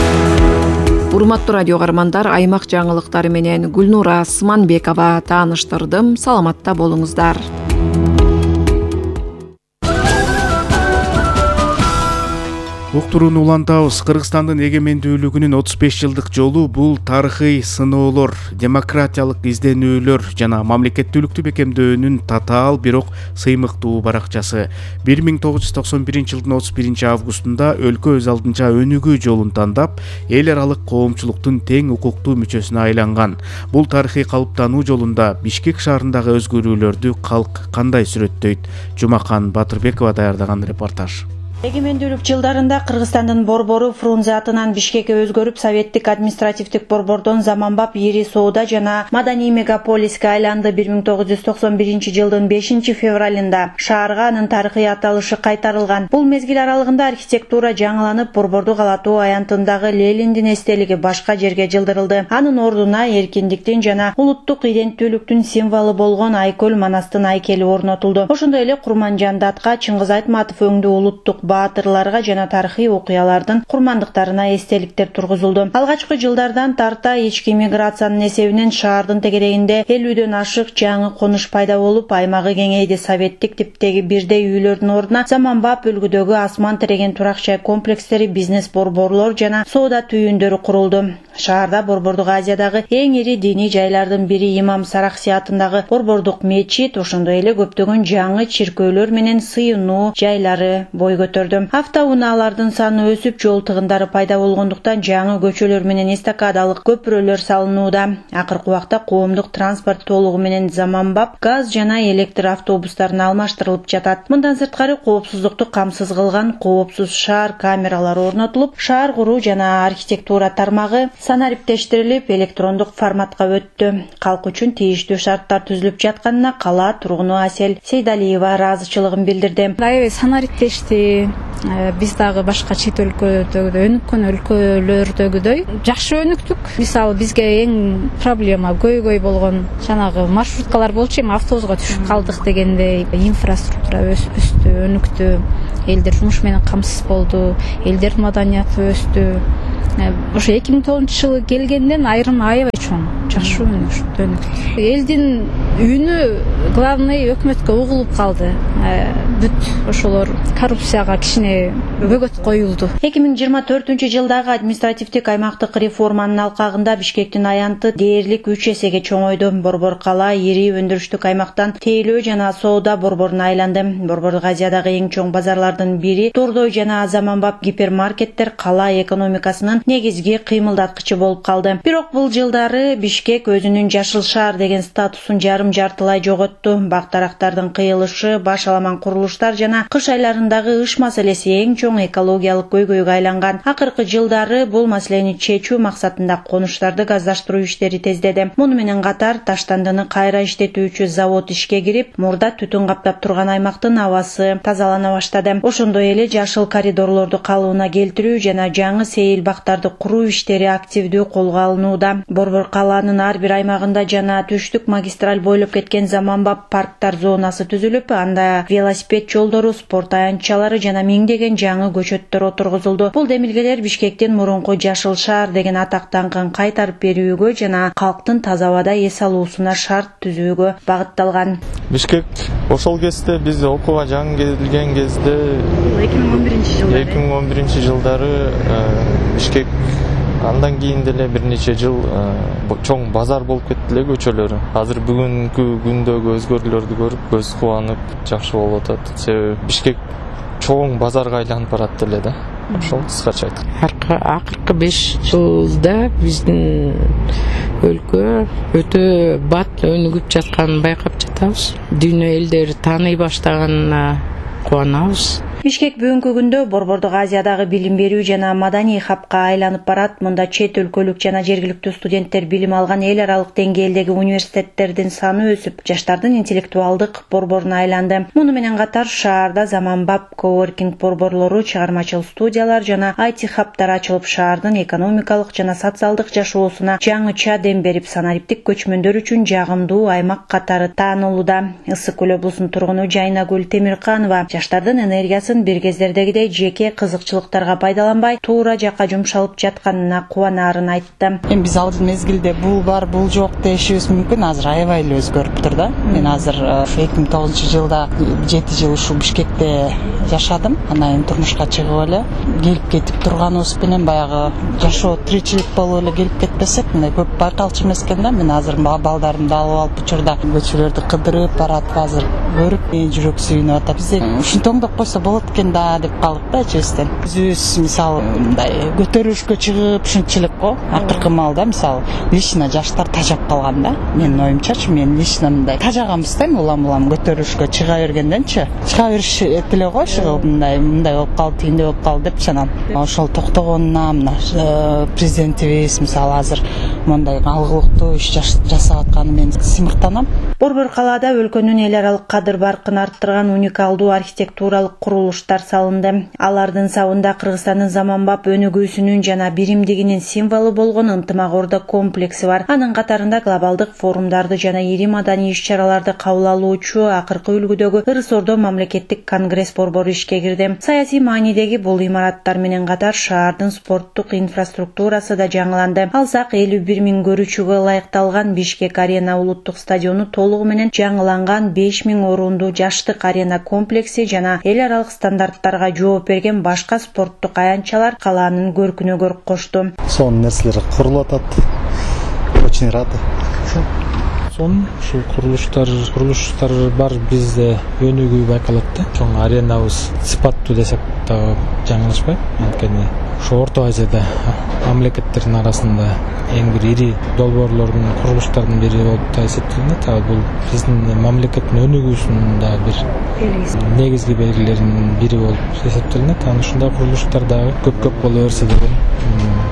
Speaker 10: Урматтуу радио каармандар, аймак жаңылыктары менен Гүлнура Сманбекова тааныштырдым. Саламатта болуңуздар.
Speaker 1: Уктурууну улантабыз. Кыргызстандын эгемендүүлүгүнүн 35 жылдык жолу бул тарыхый сыноолор, демократиялык изденүүлөр жана мамлекеттүүлүктү бекемдөөнүн татаал бирок сыймыктуу баракчасы. 1991 жылдын 31 августунда өлкө өз алдынча өнүгүү жолун тандап, эл аралык коомчулуктун тең укуктуу мүчөсүнө айланган. Бул тарыхый калыптануу жолунда Бишкек шаарындагы өзгөрүүлөрдү калк кандай сүрөттөйт? Жумакан Батырбекова даярдаган репортаж.
Speaker 4: Эгемендүүлүк жылдарында Кыргызстандын борбору Фрунзе атынан Бишкекке өзгөрүп, советтик административдик борбордон заманбап ири соода жана маданий мегаполиске айланды. 1991 жылдын 5 февралында шаарга анын тарыхый аталышы кайтарылган. Бул мезгил аралыгында архитектура жаңыланып, борборду калатуу аянтындагы Лениндин эстелиги башка жерге жылдырылды. Анын ордуна эркиндиктин жана улуттук иденттүүлүктүн символу болгон Айкөл Манастын айкели орнотулду. Ошондой эле Курманжан Датка Чыңгыз Айтматов өңдүү улуттук баатырларга жана тарыхый окуялардын курмандыктарына эстеликтер тургузулду. Алгачкы жылдардан тарта ички миграциянын эсебинен шаардын тегерегинде 50дөн ашык жаңы конуш пайда болуп, аймагы кеңейди. Советтик типтеги бирдей үйлөрдүн ордуна заманбап үлгүдөгү асман тиреген турак жай комплекстери, бизнес борборлор жана соода түйүндөрү курулду. Шаарда Борбордук Азиядагы эң ири диний жайлардын бири Имам Сарахси атындагы борбордук мечит, ошондой эле көптөгөн жаңы чиркөөлөр менен сыйынуу жайлары бой көтөрдү. Автоунаалардын саны өсүп, жол тыгындары пайда болгондуктан жаңы көчөлөр менен эстакадалык көпүрөлөр салынууда. Акыркы убакта коомдук транспорт толугу менен заманбап газ жана электр автобустарына алмаштырылып жатат. Мындан сырткары коопсуздукту камсыз кылган коопсуз шаар камералары орнотулуп, шаар куруу жана архитектура тармагы санариптештирилип, электрондук форматка өттү. Калк үчүн тийиштүү шарттар түзүлүп жатканына кала тургуну Асел Сейдалиева ыраазычылыгын билдирди.
Speaker 7: Аябай санариптешти, биз дагы башка чет өлкөдөгүдөй, өнүккөн өлкөлөрдөгүдөй жакшы өнүктүк. Мисалы бизге эң проблема көйгөй болгон жанагы маршруткалар болчу, эми автобуска түшүп калдык дегендей. Инфраструктура өстү, өнүктү, элдер жумуш менен камсыз болду, элдердин маданияты өстү. Ошо 2009 жылы келгенден айрым аябай чоң, жакшы өнүктү. Элдин үнү главный өкмөткө угулуп калды. Бүт ошолор коррупцияга кичине бөгөт коюлду.
Speaker 4: 2024-жылдагы административдик аймактык реформанын алкагында Бишкектин аянты дээрлик 3 эсеге чоңойду. Борбор кала ири өндүрүштүк аймактан тейлөө жана соода борборуна айланды. Борбордук Азиядагы эң чоң базарлардын бири Тордой жана заманбап гипермаркеттер кала экономикасынын негизги кыймылдаткычы болуп калды. Бирок бул жылдары Бишкек өзүнүн жашыл шаар деген статусун жарым-жартылай жоготту. Бак-дарактардын кыйылышы, баш аламан курулуштар жана кыш айларындагы ыш маселеси эң чоң экологиялык көйгөйгө айланган. Акыркы жылдары бул маселени чечүү максатында конуштарды газдаштыруу иштери тездеди. Муну менен катар Таштандыны кайра иштетүүчү завод ишке кирип, мурда түтүн каптап турган аймактын абасы тазалана баштады. Ошондой эле жашыл коридорлорду калыбына келтирүү жана жаңы сейил бактарды куруу иштери активдүү колго алынууда. Борбор каланын ар бир аймагында жана түштүк магистраль бойлоп кеткен заманбап парктар зонасы түзүлүп, анда велосипед жолдору, спорт аянтчалары жана миңдеген жаңы көчөттөр отургузулду. Бул демилгелер Бишкектин мурунку жашыл шаар деген атак даңкын кайтарып берүүгө жана калктын таза абада эс алуусуна шарт түзүүгө багытталган.
Speaker 5: Бишкек ошол кезде биз окууга жаңы келген кезде 2011 жылдары Бишкек андан кийин деле бир нече жыл чоң базар болуп кетти эле көчөлөрү. Азыр бүгүнкү күндөгү өзгөрүүлөрдү көрүп көз кубанып жакшы болуп атат. Себеби Бишкек чоң базарга айланып барат эле да. Ошол кыскача айтканда.
Speaker 6: Акыркы 5 жылда биздин өлкө өтө бат өнүгүп жатканын байкап жатабыз. Дүйнө элдери тааный баштаганына кубанабыз.
Speaker 4: Бишкек бүгүнкү күндө Борбордук Азиядагы билим берүү жана маданий хабка айланып барат. Мында чет өлкөлүк жана жергиликтүү студенттер билим алган эл аралык деңгээлдеги университеттердин саны өсүп, жаштардын интеллектуалдык борборуна айланды. Муну менен катар шаарда заманбап коворкинг борборлору, чыгармачыл студиялар жана IT хабтар ачылып, шаардын экономикалык жана социалдык жашоосуна жаңыча дем берип, санариптик көчмөндөр үчүн жагымдуу аймак катары таанылууда. Ысык көл облусунун тургуну Жайнагүл Темирканова жаштардын энергиясы бир кездердегидей жеке кызыкчылыктарга пайдаланбай, туура жакка жумшалып жатканына кубанаарын айтты.
Speaker 16: Эми биз ал мезгилде бул бар, бул жок дешибиз мүмкүн. Азыр аябай эле өзгөрүптүр да. Мен азыр 2009 жылда 7 жыл ушу Бишкекте жашадым. Анан эми турмушка чыгып эле келип кетип турганыбыз менен баягы жашоо тиричилик болуп эле келип кетпесек, мындай көп байкалчу эмес экен да. Мен азыр балдарымды алып алып учурда көчөлөрдү кыдырып баратып, азыр көрүп жүрөк сүйүнүп атат. Бизде ушинтип оңдоп койсо болот экен да деп калдык да честен. Өзүбүз мисалы мындай көтөрүлүшкө чыгып ушунчалык го. Акыркы маалда мисалы лично жаштар тажап калган да. Менин оюмчачы, мен лично мындай тажаганбыз да, улам көтөрүлүшкө чыга бергенденчи. Чыга бериш этиле го, чыгып мындай болуп калды, тигиндей болуп калды деп чанам. Ошол токтогонуна мына президентибиз мисалы азыр мындай алгылыктуу иш жасап атканы мен сыймыктанам.
Speaker 4: Борбор калаада өлкөнүн эл аралык кадыр баркын арттырган уникалдуу архитектуралык курулуштар салынды. Алардын сабында Кыргызстандын заманбап өнүгүүсүнүн жана биримдигинин символу болгон Ынтымак Орда комплекси бар. Анын катарында глобалдык форумдарды жана ири маданий иш-чараларды кабыл алуучу акыркы үлгүдөгү Ырыс Ордо мамлекеттик конгресс борбору ишке кирди. Саясий маанидеги бул имараттар менен катар шаардын спорттук инфраструктурасы да жаңыланды. Алсак 51 000 көрүүчүгө ылайыкталган Бишкек Арена улуттук стадиону толугу менен жаңыланган 5000 орунду жаштык арена комплекси жана эл аралык стандарттарга жооп берген башка спорттук аянтчалар калаанын көркүнө көрк кошту.
Speaker 17: Сонун нерселер курулуп атат. Очень рады.
Speaker 13: Ушул курулуштар бар, бизде өнүгүү байкалат да. Чоң аренабыз сыпаттуу десек да жаңылышпайт. Анткени
Speaker 18: Ошо Орто Азияда мамлекеттердин арасында эң бир ири долбоорлордун курулуштардын бири болуп эсептелинет. Ал бул биздин мамлекеттин өнүгүүсүнүн дагы бир негизги белгилеринин бири болуп эсептелинет. Анан ушундай курулуштар дагы көп боло берсе деген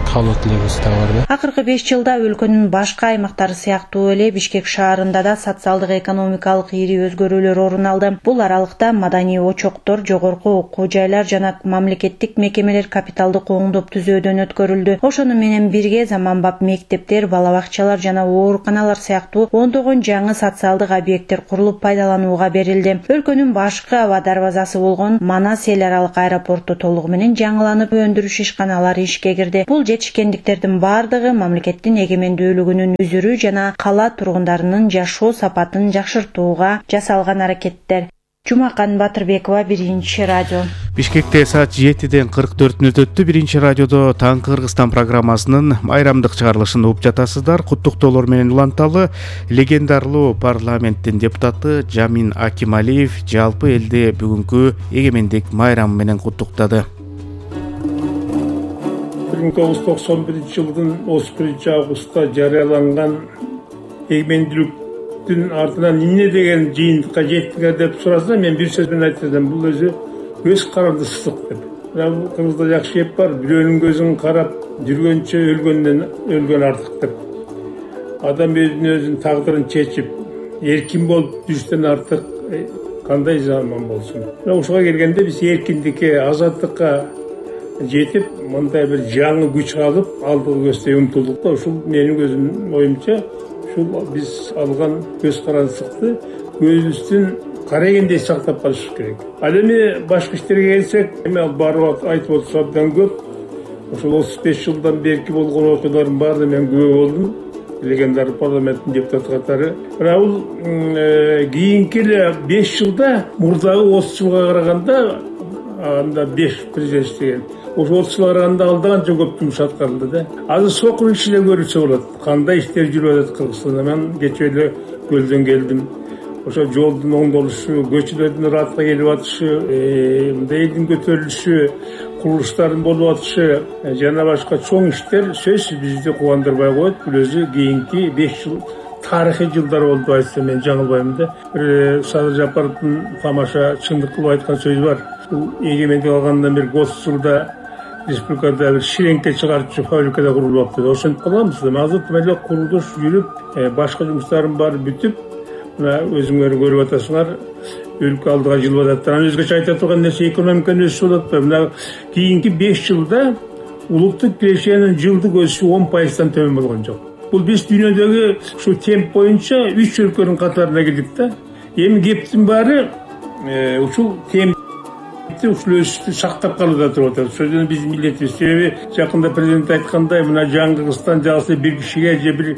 Speaker 18: каалоо тилегибиз дагы бар да.
Speaker 4: Акыркы 5 жылда өлкөнүн башка аймактары сыяктуу эле Бишкек шаарында да социалдык экономикалык ири өзгөрүүлөр орун алды. Бул аралыкта маданий очоктор, жогорку окуу жайлар жана мамлекеттик мекемелер капиталдык оңдоп түзөөдөн өткөрүлдү. Ошону менен бирге заманбап мектептер, бала бакчалар жана ооруканалар сыяктуу ондогон жаңы социалдык объекттер курулуп пайдаланууга берилди. Өлкөнүн башкы аба дарбазасы болгон Манас эл аралык аэропорту толугу менен жаңыланып өндүрүш ишканалары ишке кирди. Бул жетишкендиктердин бардыгы мамлекеттин эгемендүүлүгүнүн үзүрү жана кала тургундарынын жашоо сапатын жакшыртууга жасалган аракеттер. Жумакан Батырбекова, Биринчи радио.
Speaker 1: Бишкекте саат 7-ден 44 мүнөт өттү. Биринчи радиодо Таңкы Кыргызстан программасынын майрамдык чыгарылышын угуп жатасыздар. Куттуктоолор менен уланталы легендарлуу парламенттин депутаты Жамин Акималиев жалпы элди бүгүнкү эгемендик майрамы менен куттуктады.
Speaker 19: 1991 жылдын 31 августта жарыяланган эгемендүүлүктүн артынан эмне деген жыйынтыкка жеттиңер деп сураса, мен бир сөз менен айтсам, бул өзү көз карандысыздык деп. Мына Кыргызда жакшы эп бар, бирөөнүн көзүн карап жүргөнчө өлгөн артык деп. Адам өзүнүн тагдырын чечип, эркин болуп жүрүштөн артык кандай заман болсун. Ошого келгенде биз эркиндикке, азаттыкка жетип, мындай бир жаңы күч алып, алдыга көздөй умтулдук да. Ушул менин өзүмдүн оюмча, ушул биз алган көз карандысыкты көзүбүздүн карагендей сактап калыш керек. Ал эми башка иштерге келсек, эми барып айтып отурса абдан көп. Ошол 35 жылдан берки болгон окуялардын баардыгы мен күбө болдум. Легендар парламенттин депутаты катары. Мына бул кийинки 5 жылда мурдагы 30 жылга караганда анда 5 президент иштеген. Ошо 30 жылга караганда алда канча көп жумуш аткарылды да. Азыр сокуныч эле көрүлсө болот. Кандай иштер жүрүп атат Кыргызстанда. Мен кечээ эле көлдөн келдим. Ошо жолдун оңдолушу, көчөлөрдүн ыраатка келип атышы, мындай элдин көтөрүлүшү, курулуштардын болуп атышы жана башка чоң иштер сөзсүз бизди кубандырбай коет. Бул өзү кийинки 5 жыл тарыхый жылдар болду айтсам мен жаңылбайм да. Садыр Жапаровдун тамаша чындык кылып айткан сөзү бар. Бул эгемендик алгандан бери 30 жылда республикада бир ширеңке чыгарчу фабрикада курулуп атты. Ошентип каламыз да. Азыр эле курулуш жүрүп, башка жумуштардын баары бүтүп, мына өзүңөр көрүп атасыңар, өлкө алдыга жылып атат. Анан өзгөчө айта турган нерсе экономиканын өсүшү болуп атпайбы? Мына кийинки 5 жылда улуттук кирешенин жылдык өсүшү 10%-дан төмөн болгон жок. Бул биз дүйнөдөгү ушу темп боюнча 3 өлкөнүн катарына кирдик да. Эми кептин баары ушул темп ушул өсүштү сактап калууда туруп атат. Сөзүнө биздин милдетибиз. Себеби жакында президент айткандай, мына жаңы Кыргызстан жалпы бир кишиге же бир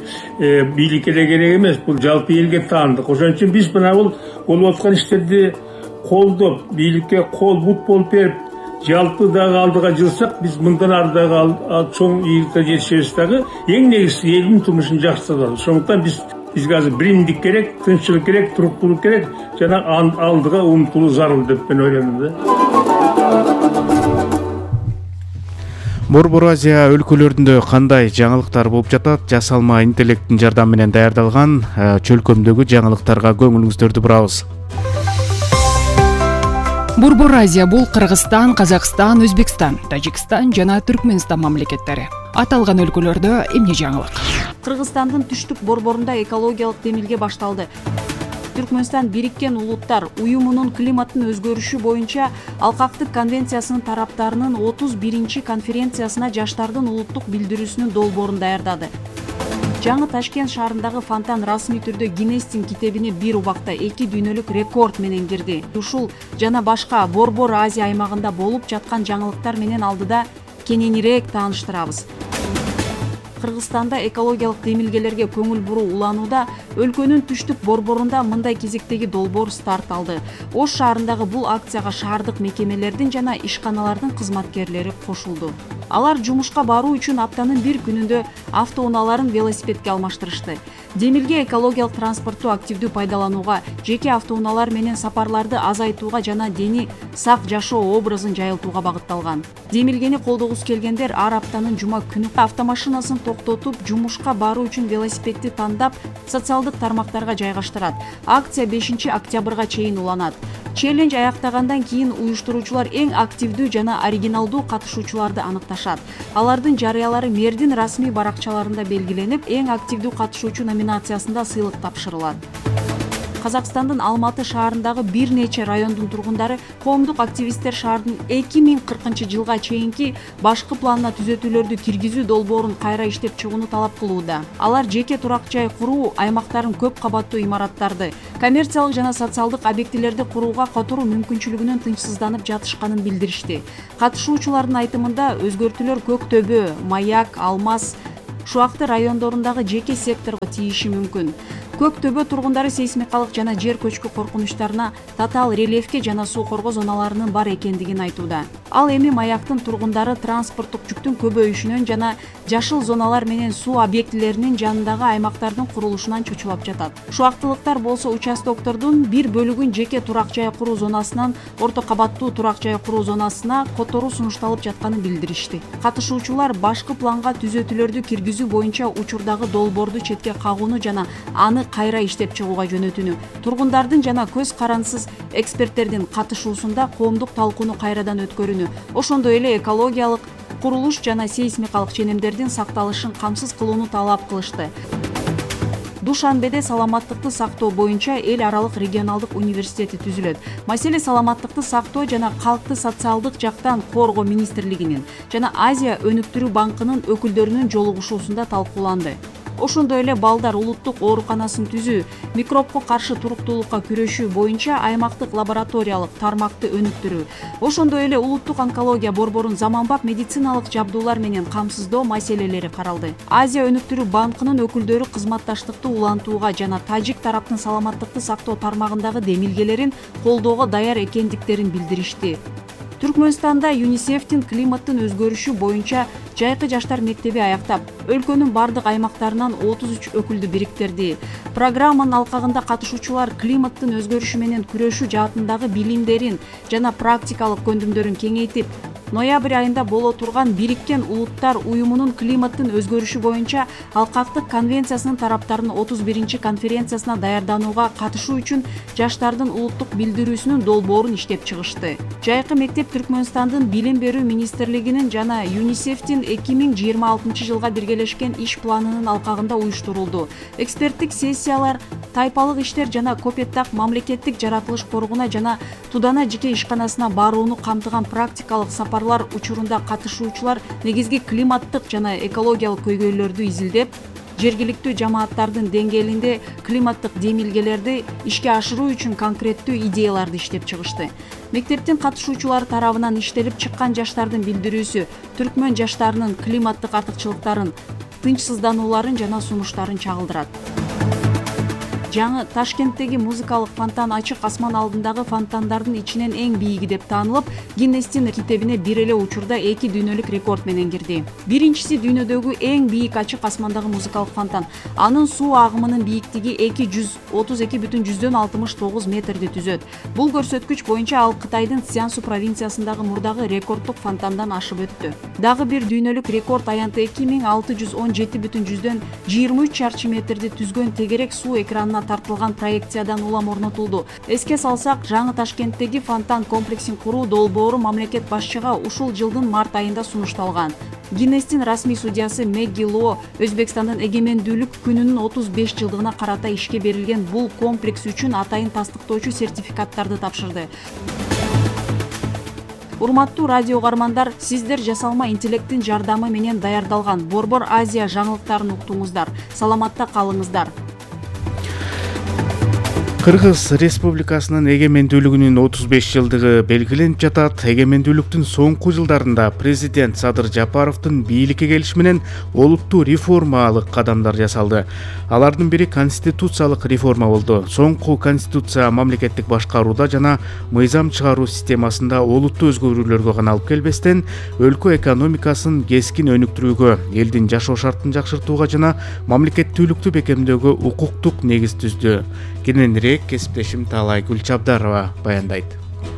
Speaker 19: бийликке эле керек эмес, бул жалпы элге таандык. Ошон үчүн биз мына бул болуп аткан иштерди колдоп, бийликке кол бут болуп берип, жалпы дагы алдыга жылсак, биз мындан ары дагы чоң ийгиликке жетишебиз дагы. Эң негизги элдин турмушун жакшырталы. Ошондуктан бизге азыр биримдик керек, тынччылык керек, туруктуулук керек жана алдыга умтулуу зарыл деп мен ойлойм да.
Speaker 1: Борбор Азия өлкөлөрүндө кандай жаңылыктар болуп жатат? Жасалма интеллекттин жардамы менен даярдалган чөлкөмдөгү жаңылыктарга көңүлүңүздөрдү бурабыз.
Speaker 20: Борбор Азия бул Кыргызстан, Казакстан, Өзбекстан, Тажикстан жана Түркмөнстан мамлекеттери. Аталган өлкөлөрдө эмне жаңылык?
Speaker 21: Кыргызстандын түштүк борборунда экологиялык демилге башталды. Түркмөнстан Бириккен Улуттар уюмунун климаттын өзгөрүшү боюнча Алкактык конвенциясынын тараптарынын 31-чи конференциясына жаштардын улуттук билдирүүсүнүн долбоорун даярдады. Жаңы Ташкент шаарындагы фонтан расмий түрдө Гиннестин китебине бир убакта 2 дүйнөлүк рекорд менен кирди. Ушул жана башка Борбор Азия аймагында болуп жаткан жаңылыктар менен алдыда кененирээк тааныштырабыз. Кыргызстанда экологиялык демилгелерге көңүл буруу уланууда өлкөнүн түштүк борборунда мындай кезектеги долбоор старт алды. Ош шаарындагы бул акцияга шаардык мекемелердин жана ишканалардын кызматкерлери кошулду. Алар жумушка баруу үчүн аптанын бир күнүндө автоунааларын велосипедке алмаштырышты. Демилге экологиялык транспортту активдүү пайдаланууга, жеке автоунаалар менен сапарларды азайтууга жана дени сак жашоо образын жайылтууга багытталган. Демилгени колдогусу келгендер ар аптанын жума күнү автомашинасын токтотуп, жумушка баруу үчүн велосипедти тандап, социалдык тармактарга жайгаштырат. Акция 5 октябрга чейин уланат. Челлендж аяктагандан кийин уюштуруучулар эң активдүү жана оригиналдуу катышуучуларды аныкташат. Алардын жарыялары мэрдин расмий баракчаларында белгиленип, эң активдүү катышуучу номинациясында сыйлык тапшырылат. Казакстандын Алматы шаарындагы бир нече райондун тургундары коомдук активисттер шаардын 2040-жылга чейинки башкы планына түзөтүүлөрдү киргизүү долбоорун кайра иштеп чыгууну талап кылууда. Алар жеке турак жай куруу аймактарын көп кабаттуу имараттарды, коммерциялык жана социалдык объектилерди курууга которуу мүмкүнчүлүгүнөн тынчсызданып жатышканын билдиришти. Катышуучулардын айтымында өзгөртүүлөр Көк Төбө, Маяк, Алмаз, Шуакты райондорундагы жеке секторго тийиши мүмкүн. Көк Төбө тургундары сейсмикалык жана жер көчкү коркунучтарына, татаал рельефке жана суу коргоо зоналарынын бар экендигин айтууда. Ал эми Маяктын тургундары транспорттук жүктүн көбөйүшүнөн жана жашыл зоналар менен суу объектилеринин жанындагы аймактардын курулушунан чочулап жатат. Шуактылыктар болсо участоктордун бир бөлүгүн жеке турак жай куруу зонасынан орто кабаттуу турак жай куруу зонасына которуу сунушталып жатканын билдиришти. Катышуучулар башкы планга түзөтүүлөрдү киргизүү боюнча учурдагы долбоорду четке кагууну жана аны кайра иштеп чыгууга жөнөтүүнү, тургундардын жана көз карансыз эксперттердин катышуусунда коомдук талкууну кайрадан өткөрүүнү, ошондой эле экологиялык, курулуш жана сейсмикалык ченемдердин сакталышын камсыз кылууну талап кылышты. Душанбеде саламаттыкты сактоо боюнча эл аралык регионалдык университети түзүлөт. Маселе саламаттыкты сактоо жана калкты социалдык жактан коргоо министрлигинин жана Азия өнүктүрүү банкынын өкүлдөрүнүн жолугушуусунда талкууланды. Ошондой эле балдар улуттук ооруканасын түзүү, микробко каршы туруктуулукка күрөшүү боюнча аймактык лабораториялык тармакты өнүктүрүү, ошондой эле улуттук онкология борборун заманбап медициналык жабдуулар менен камсыздоо маселелери каралды. Азия өнүктүрүү банкынын өкүлдөрү кызматташтыкты улантууга жана тажик тараптын саламаттыкты сактоо тармагындагы демилгелерин колдоого даяр экендиктерин билдиришти. Түркмөнстанда ЮНИСЕФтин климаттын өзгөрүшү боюнча жайкы жаштар мектеби аяктап, өлкөнүн бардык аймактарынан 33 өкүлдү бириктирди. Программанын алкагында катышуучулар климаттын өзгөрүшү менен күрөшүү жаатындагы билимдерин жана практикалык көндүмдөрүн кеңейтип, ноябрь айында боло турган Бириккен Улуттар уюмунун климаттын өзгөрүшү боюнча алкактык конвенциясынын тараптарынын 31 конференциясына даярданууга катышуу үчүн жаштардын улуттук билдирүүсүнүн долбоорун иштеп чыгышты. Жайкы мектеп Түркмөнстандын Билим берүү министрлигинин жана ЮНИСЕФтин 2026 жылга биргелешкен иш планынын алкагында уюштурулду. Эксперттик сессиялар, тайпалык иштер жана Копеттак мамлекеттик жаратылыш коргууна жана Тудана жеке ишканасына барууну камтыган практикалык сапарлар учурунда катышуучулар негизги климаттык жана экологиялык көйгөйлөрдү изилдеп, жергиликтүү жамааттардын деңгээлинде климаттык демилгелерди ишке ашыруу үчүн конкреттүү идеяларды иштеп чыгышты. Мектептин катышуучулары тарабынан иштелип чыккан жаштардын билдирүүсү түркмөн жаштарынын климаттык артыкчылыктарын, тынчсызданууларын жана сунуштарын чагылдырат. Жаңы Ташкенттеги музыкалык фонтан ачык асман алдындагы фонтандардын ичинен эң бийиги деп таанылып, Гиннестин китебине бир эле учурда 2 дүйнөлүк рекорд менен кирди. Биринчиси дүйнөдөгү эң бийик ачык асмандагы музыкалык фонтан. Анын суу агымынын бийиктиги 232,69 метрди түзөт. Бул көрсөткүч боюнча ал Кытайдын Цзянсу провинциясындагы мурдагы рекордтук фонтандан ашып өттү. Дагы бир дүйнөлүк рекорд аянты 2617,23 чарчы метрди түзгөн тегерек суу экранына тартылган проекциядан улам орнотулду. Эске салсак, жаңы Ташкенттеги фонтан комплексин куруу долбоору мамлекет башчыга ушул жылдын март айында сунушталган. Гиннестин расмий судьясы Мэгги Ло Өзбекстандын эгемендүүлүк күнүнүн 35 жылдыгына карата ишке берилген бул комплекс үчүн атайын тастыктоочу сертификаттарды тапшырды. Урматтуу радио угармандар, сиздер жасалма интеллекттин жардамы менен даярдалган Борбор Азия жаңылыктарын уктуңуздар. Саламатта калыңыздар.
Speaker 1: Кыргыз Республикасынын эгемендүүлүгүнүн 35 жылдыгы белгиленип жатат. Эгемендүүлүктүн соңку жылдарында президент Садыр Жапаровдун бийликке келиши менен олуттуу реформалык кадамдар жасалды. Алардын бири конституциялык реформа болду. Соңку конституция мамлекеттик башкарууда жана мыйзам чыгаруу системасында олуттуу өзгөрүүлөргө гана алып келбестен, өлкө экономикасын кескин өнүктүрүүгө, элдин жашоо шартын жакшыртууга жана мамлекеттүүлүктү бекемдөөгө укуктук негиз түздү. Кененирээк кесиптешим Таалай Гүлчабдарова баяндайт.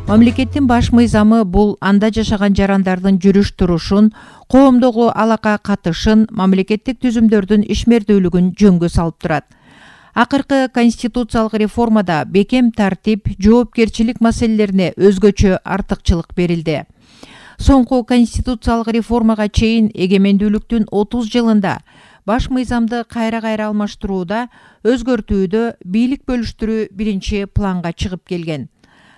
Speaker 8: Мамлекеттин баш мыйзамы бул анда жашаган жарандардын жүрүш турушун, коомдогу алака катышын, мамлекеттик түзүмдөрдүн ишмердүүлүгүн жөнгө салып турат. Акыркы конституциялык реформада бекем тартип, жоопкерчилик маселелерине өзгөчө артыкчылык берилди. Соңку конституциялык реформага чейин эгемендүүлүктүн 30 жылында баш мыйзамды кайра алмаштырууда, өзгөртүүдө бийлик бөлүштүрүү биринчи планга чыгып келген.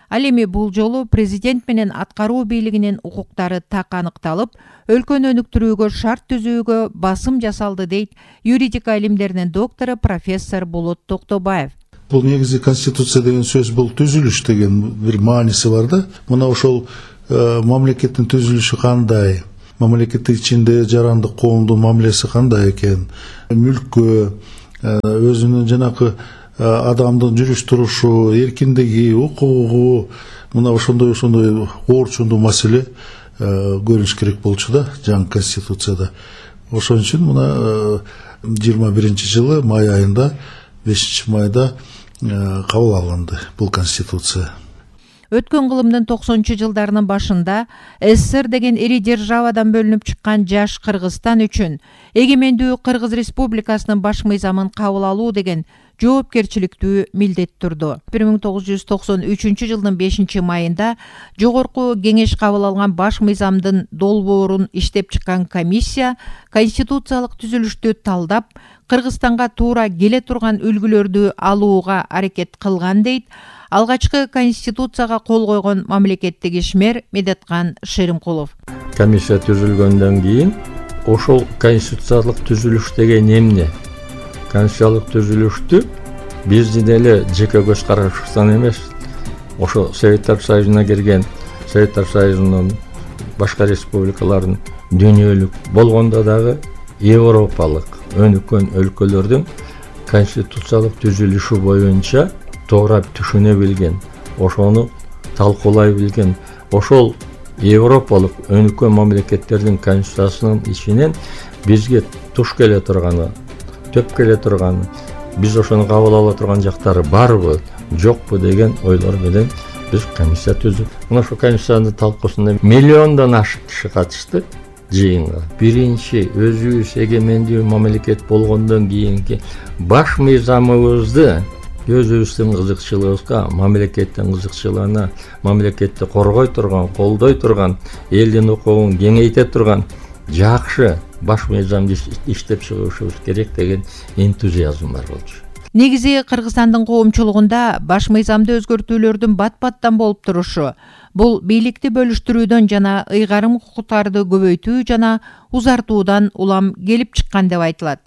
Speaker 8: Ал эми бул жолу президент менен аткаруу бийлигинин укуктары так аныкталып, өлкөнү өнүктүрүүгө шарт түзүүгө басым жасалды дейт юридика илимдеринин доктору профессор Болот Токтобаев.
Speaker 22: Бул негизи конституция деген сөз бул түзүлүш деген бир мааниси бар да. Мына ошол мамлекеттин түзүлүшү кандай, мамлекеттин ичинде жарандык коомдун мамилеси кандай экен, мүлккө, өзүнүн жанакы адамдын жүрүш турушу, эркиндиги, укугу, мына ошондой оорчундуу маселе көрүнүш керек болчу да жаңы конституцияда. Ошон үчүн мына 21-жылы май айында 5 майда кабыл алынды бул конституция.
Speaker 8: Өткөн кылымдын 90-жылдарынын башында СССР деген ири державадан бөлүнүп чыккан жаш Кыргызстан үчүн эгемендүү Кыргыз Республикасынын баш мыйзамын кабыл алуу деген жоопкерчиликтүү милдет турду. 1993-жылдын 5 майында жогорку кеңеш кабыл алган баш мыйзамдын долбоорун иштеп чыккан комиссия конституциялык түзүлүштү талдап, Кыргызстанга туура келе турган үлгүлөрдү алууга аракет кылган дейт алгачкы конституцияга кол койгон мамлекеттик ишмер Медеткан Шеримкулов.
Speaker 23: Комиссия түзүлгөндөн кийин ошол конституциялык түзүлүш деген эмне? Конституциялык түзүлүштү биздин эле жеке көз карашыбыздан эмес, ошо Советтер Союзуна кирген, Советтер Союзунун башка республикалардын дүйнөлүк болгондо дагы европалык өнүккөн өлкөлөрдүн конституциялык түзүлүшү боюнча тоорап түшүнө билген, ошону талкуулай билген, ошол европалык өнүккөн мамлекеттердин конституциясынын ичинен бизге туш келе турганы, төп келе турганы, биз ошону кабыл ала турган жактары барбы, жокпу деген ойлор менен биз комиссия түздүк. Мына ошо комиссиянын талкуусуна миллиондон ашык киши катышты жыйынга. Биринчи өзүбүз эгемендүү мамлекет болгондон кийинки баш мыйзамыбызды өзүбүздүн кызыкчылыгыбызга, мамлекеттин кызыкчылыгына, мамлекетти коргой турган, колдой турган, элдин укугун кеңейте турган жакшы баш мыйзамды иштеп чыгышыбыз керек деген энтузиазм бар болчу.
Speaker 8: Негизи Кыргызстандын коомчулугунда баш мыйзамды өзгөртүүлөрдүн бат-баттан болуп турушу, бул бийликти бөлүштүрүүдөн жана ыйгарым укуктарды көбөйтүү жана узартуудан улам келип чыккан деп айтылат.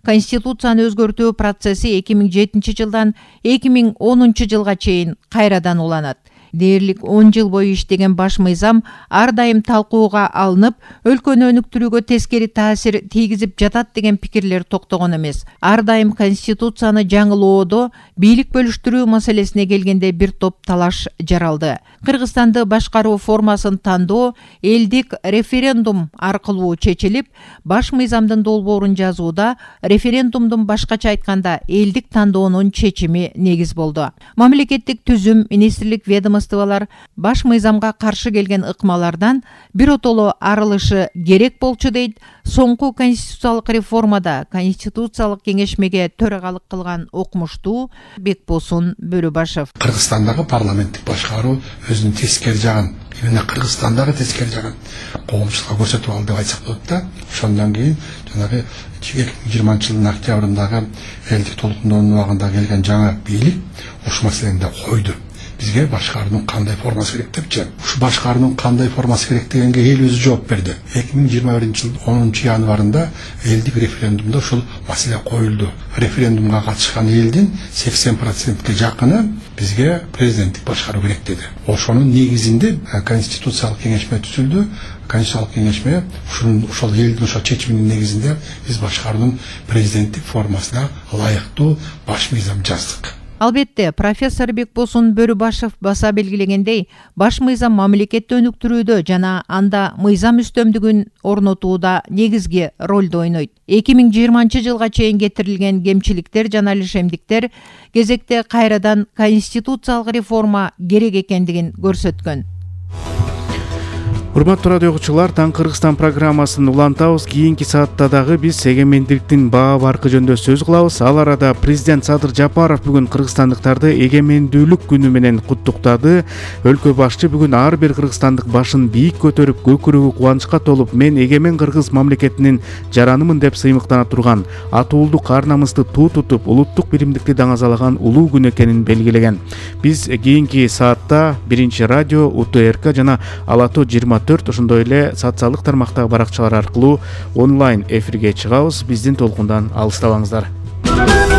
Speaker 8: Конституцияны өзгөртүү процесси 2007-жылдан 2010-жылга чейин кайрадан уланат. Дээрлик 10 жыл бою иштеген баш мыйзам ар дайым талкууга алынып, өлкөнү өнүктүрүүгө тескери таасир тийгизип жатат деген пикирлер токтогон эмес. Ар дайым конституцияны жаңылоодо бийлик бөлүштүрүү маселесине келгенде бир топ талаш жаралды. Кыргызстанды башкаруу формасын тандоо элдик референдум аркылуу чечилип, баш мыйзамдын долбоорун жазууда референдумдун башкача айтканда элдик тандоонун чечими негиз болду. Мамлекеттик түзүм, министрлик ведомстволор баш мыйзамга каршы келген ыкмалардан биротоло арылышы керек болчу дейт соңку конституциялык реформада конституциялык кеңешмеге төрагалык кылган окумуштуу Бекбосун Бөлөбашев.
Speaker 9: Кыргызстандагы парламенттик башкаруу өзүнүн тескери жагын, именно Кыргызстандагы тескери жагын коомчулукка көрсөтүп алды деп айтсак болот да. Ошондон кийин жанагы 2020-жылдын октябрындагы элдик толкундоонун убагында келген жаңы бийлик ушул маселени да койду. бизге башкаруунун кандай формасы керек депчи. Ушу башкаруунун кандай формасы керек дегенге эл өзү жооп берди. 2021 жыл 10 январында элдик референдумда ушул маселе коюлду. Референдумга катышкан элдин 80%ге жакыны бизге президенттик башкаруу керек деди. Ошонун негизинде конституциялык кеңешме түзүлдү. Конституциялык кеңешме ошол элдин ошол чечиминин негизинде биз башкаруунун президенттик формасына ылайыктуу баш мыйзам жаздык.
Speaker 8: Албетте, профессор Бекбосун Бөрүбашев баса белгилегендей, баш мыйзам мамлекетти өнүктүрүүдө жана анда мыйзам үстөмдүгүн орнотууда негизги ролду ойнойт. 2020 жылга чейин кетирилген кемчиликтер жана лишемдиктер кезекте кайрадан конституциялык реформа керек экендигин көрсөткөн.
Speaker 1: Урматтуу радио окуучулар, Таң Кыргызстан программасын улантабыз. Кийинки саатта дагы биз эгемендиктин баа баркы жөнүндө сөз кылабыз. Ал арада президент Садыр Жапаров бүгүн кыргызстандыктарды эгемендүүлүк күнү менен куттуктады. Өлкө башчы бүгүн ар бир кыргызстандык башын бийик көтөрүп, көкүрөгү кубанычка толуп, мен эгемен кыргыз мамлекетинин жаранымын деп сыймыктана турган, атуулдук ар намысты туу тутуп, улуттук биримдикти даңазалаган улуу күн экенин белгилеген. Биз кийинки саатта Биринчи радио, УТРК жана Алатоо 24 ошондой эле социалдык тармактагы баракчалар аркылуу онлайн эфирге чыгабыз. Биздин толкундан алыстабаңыздар.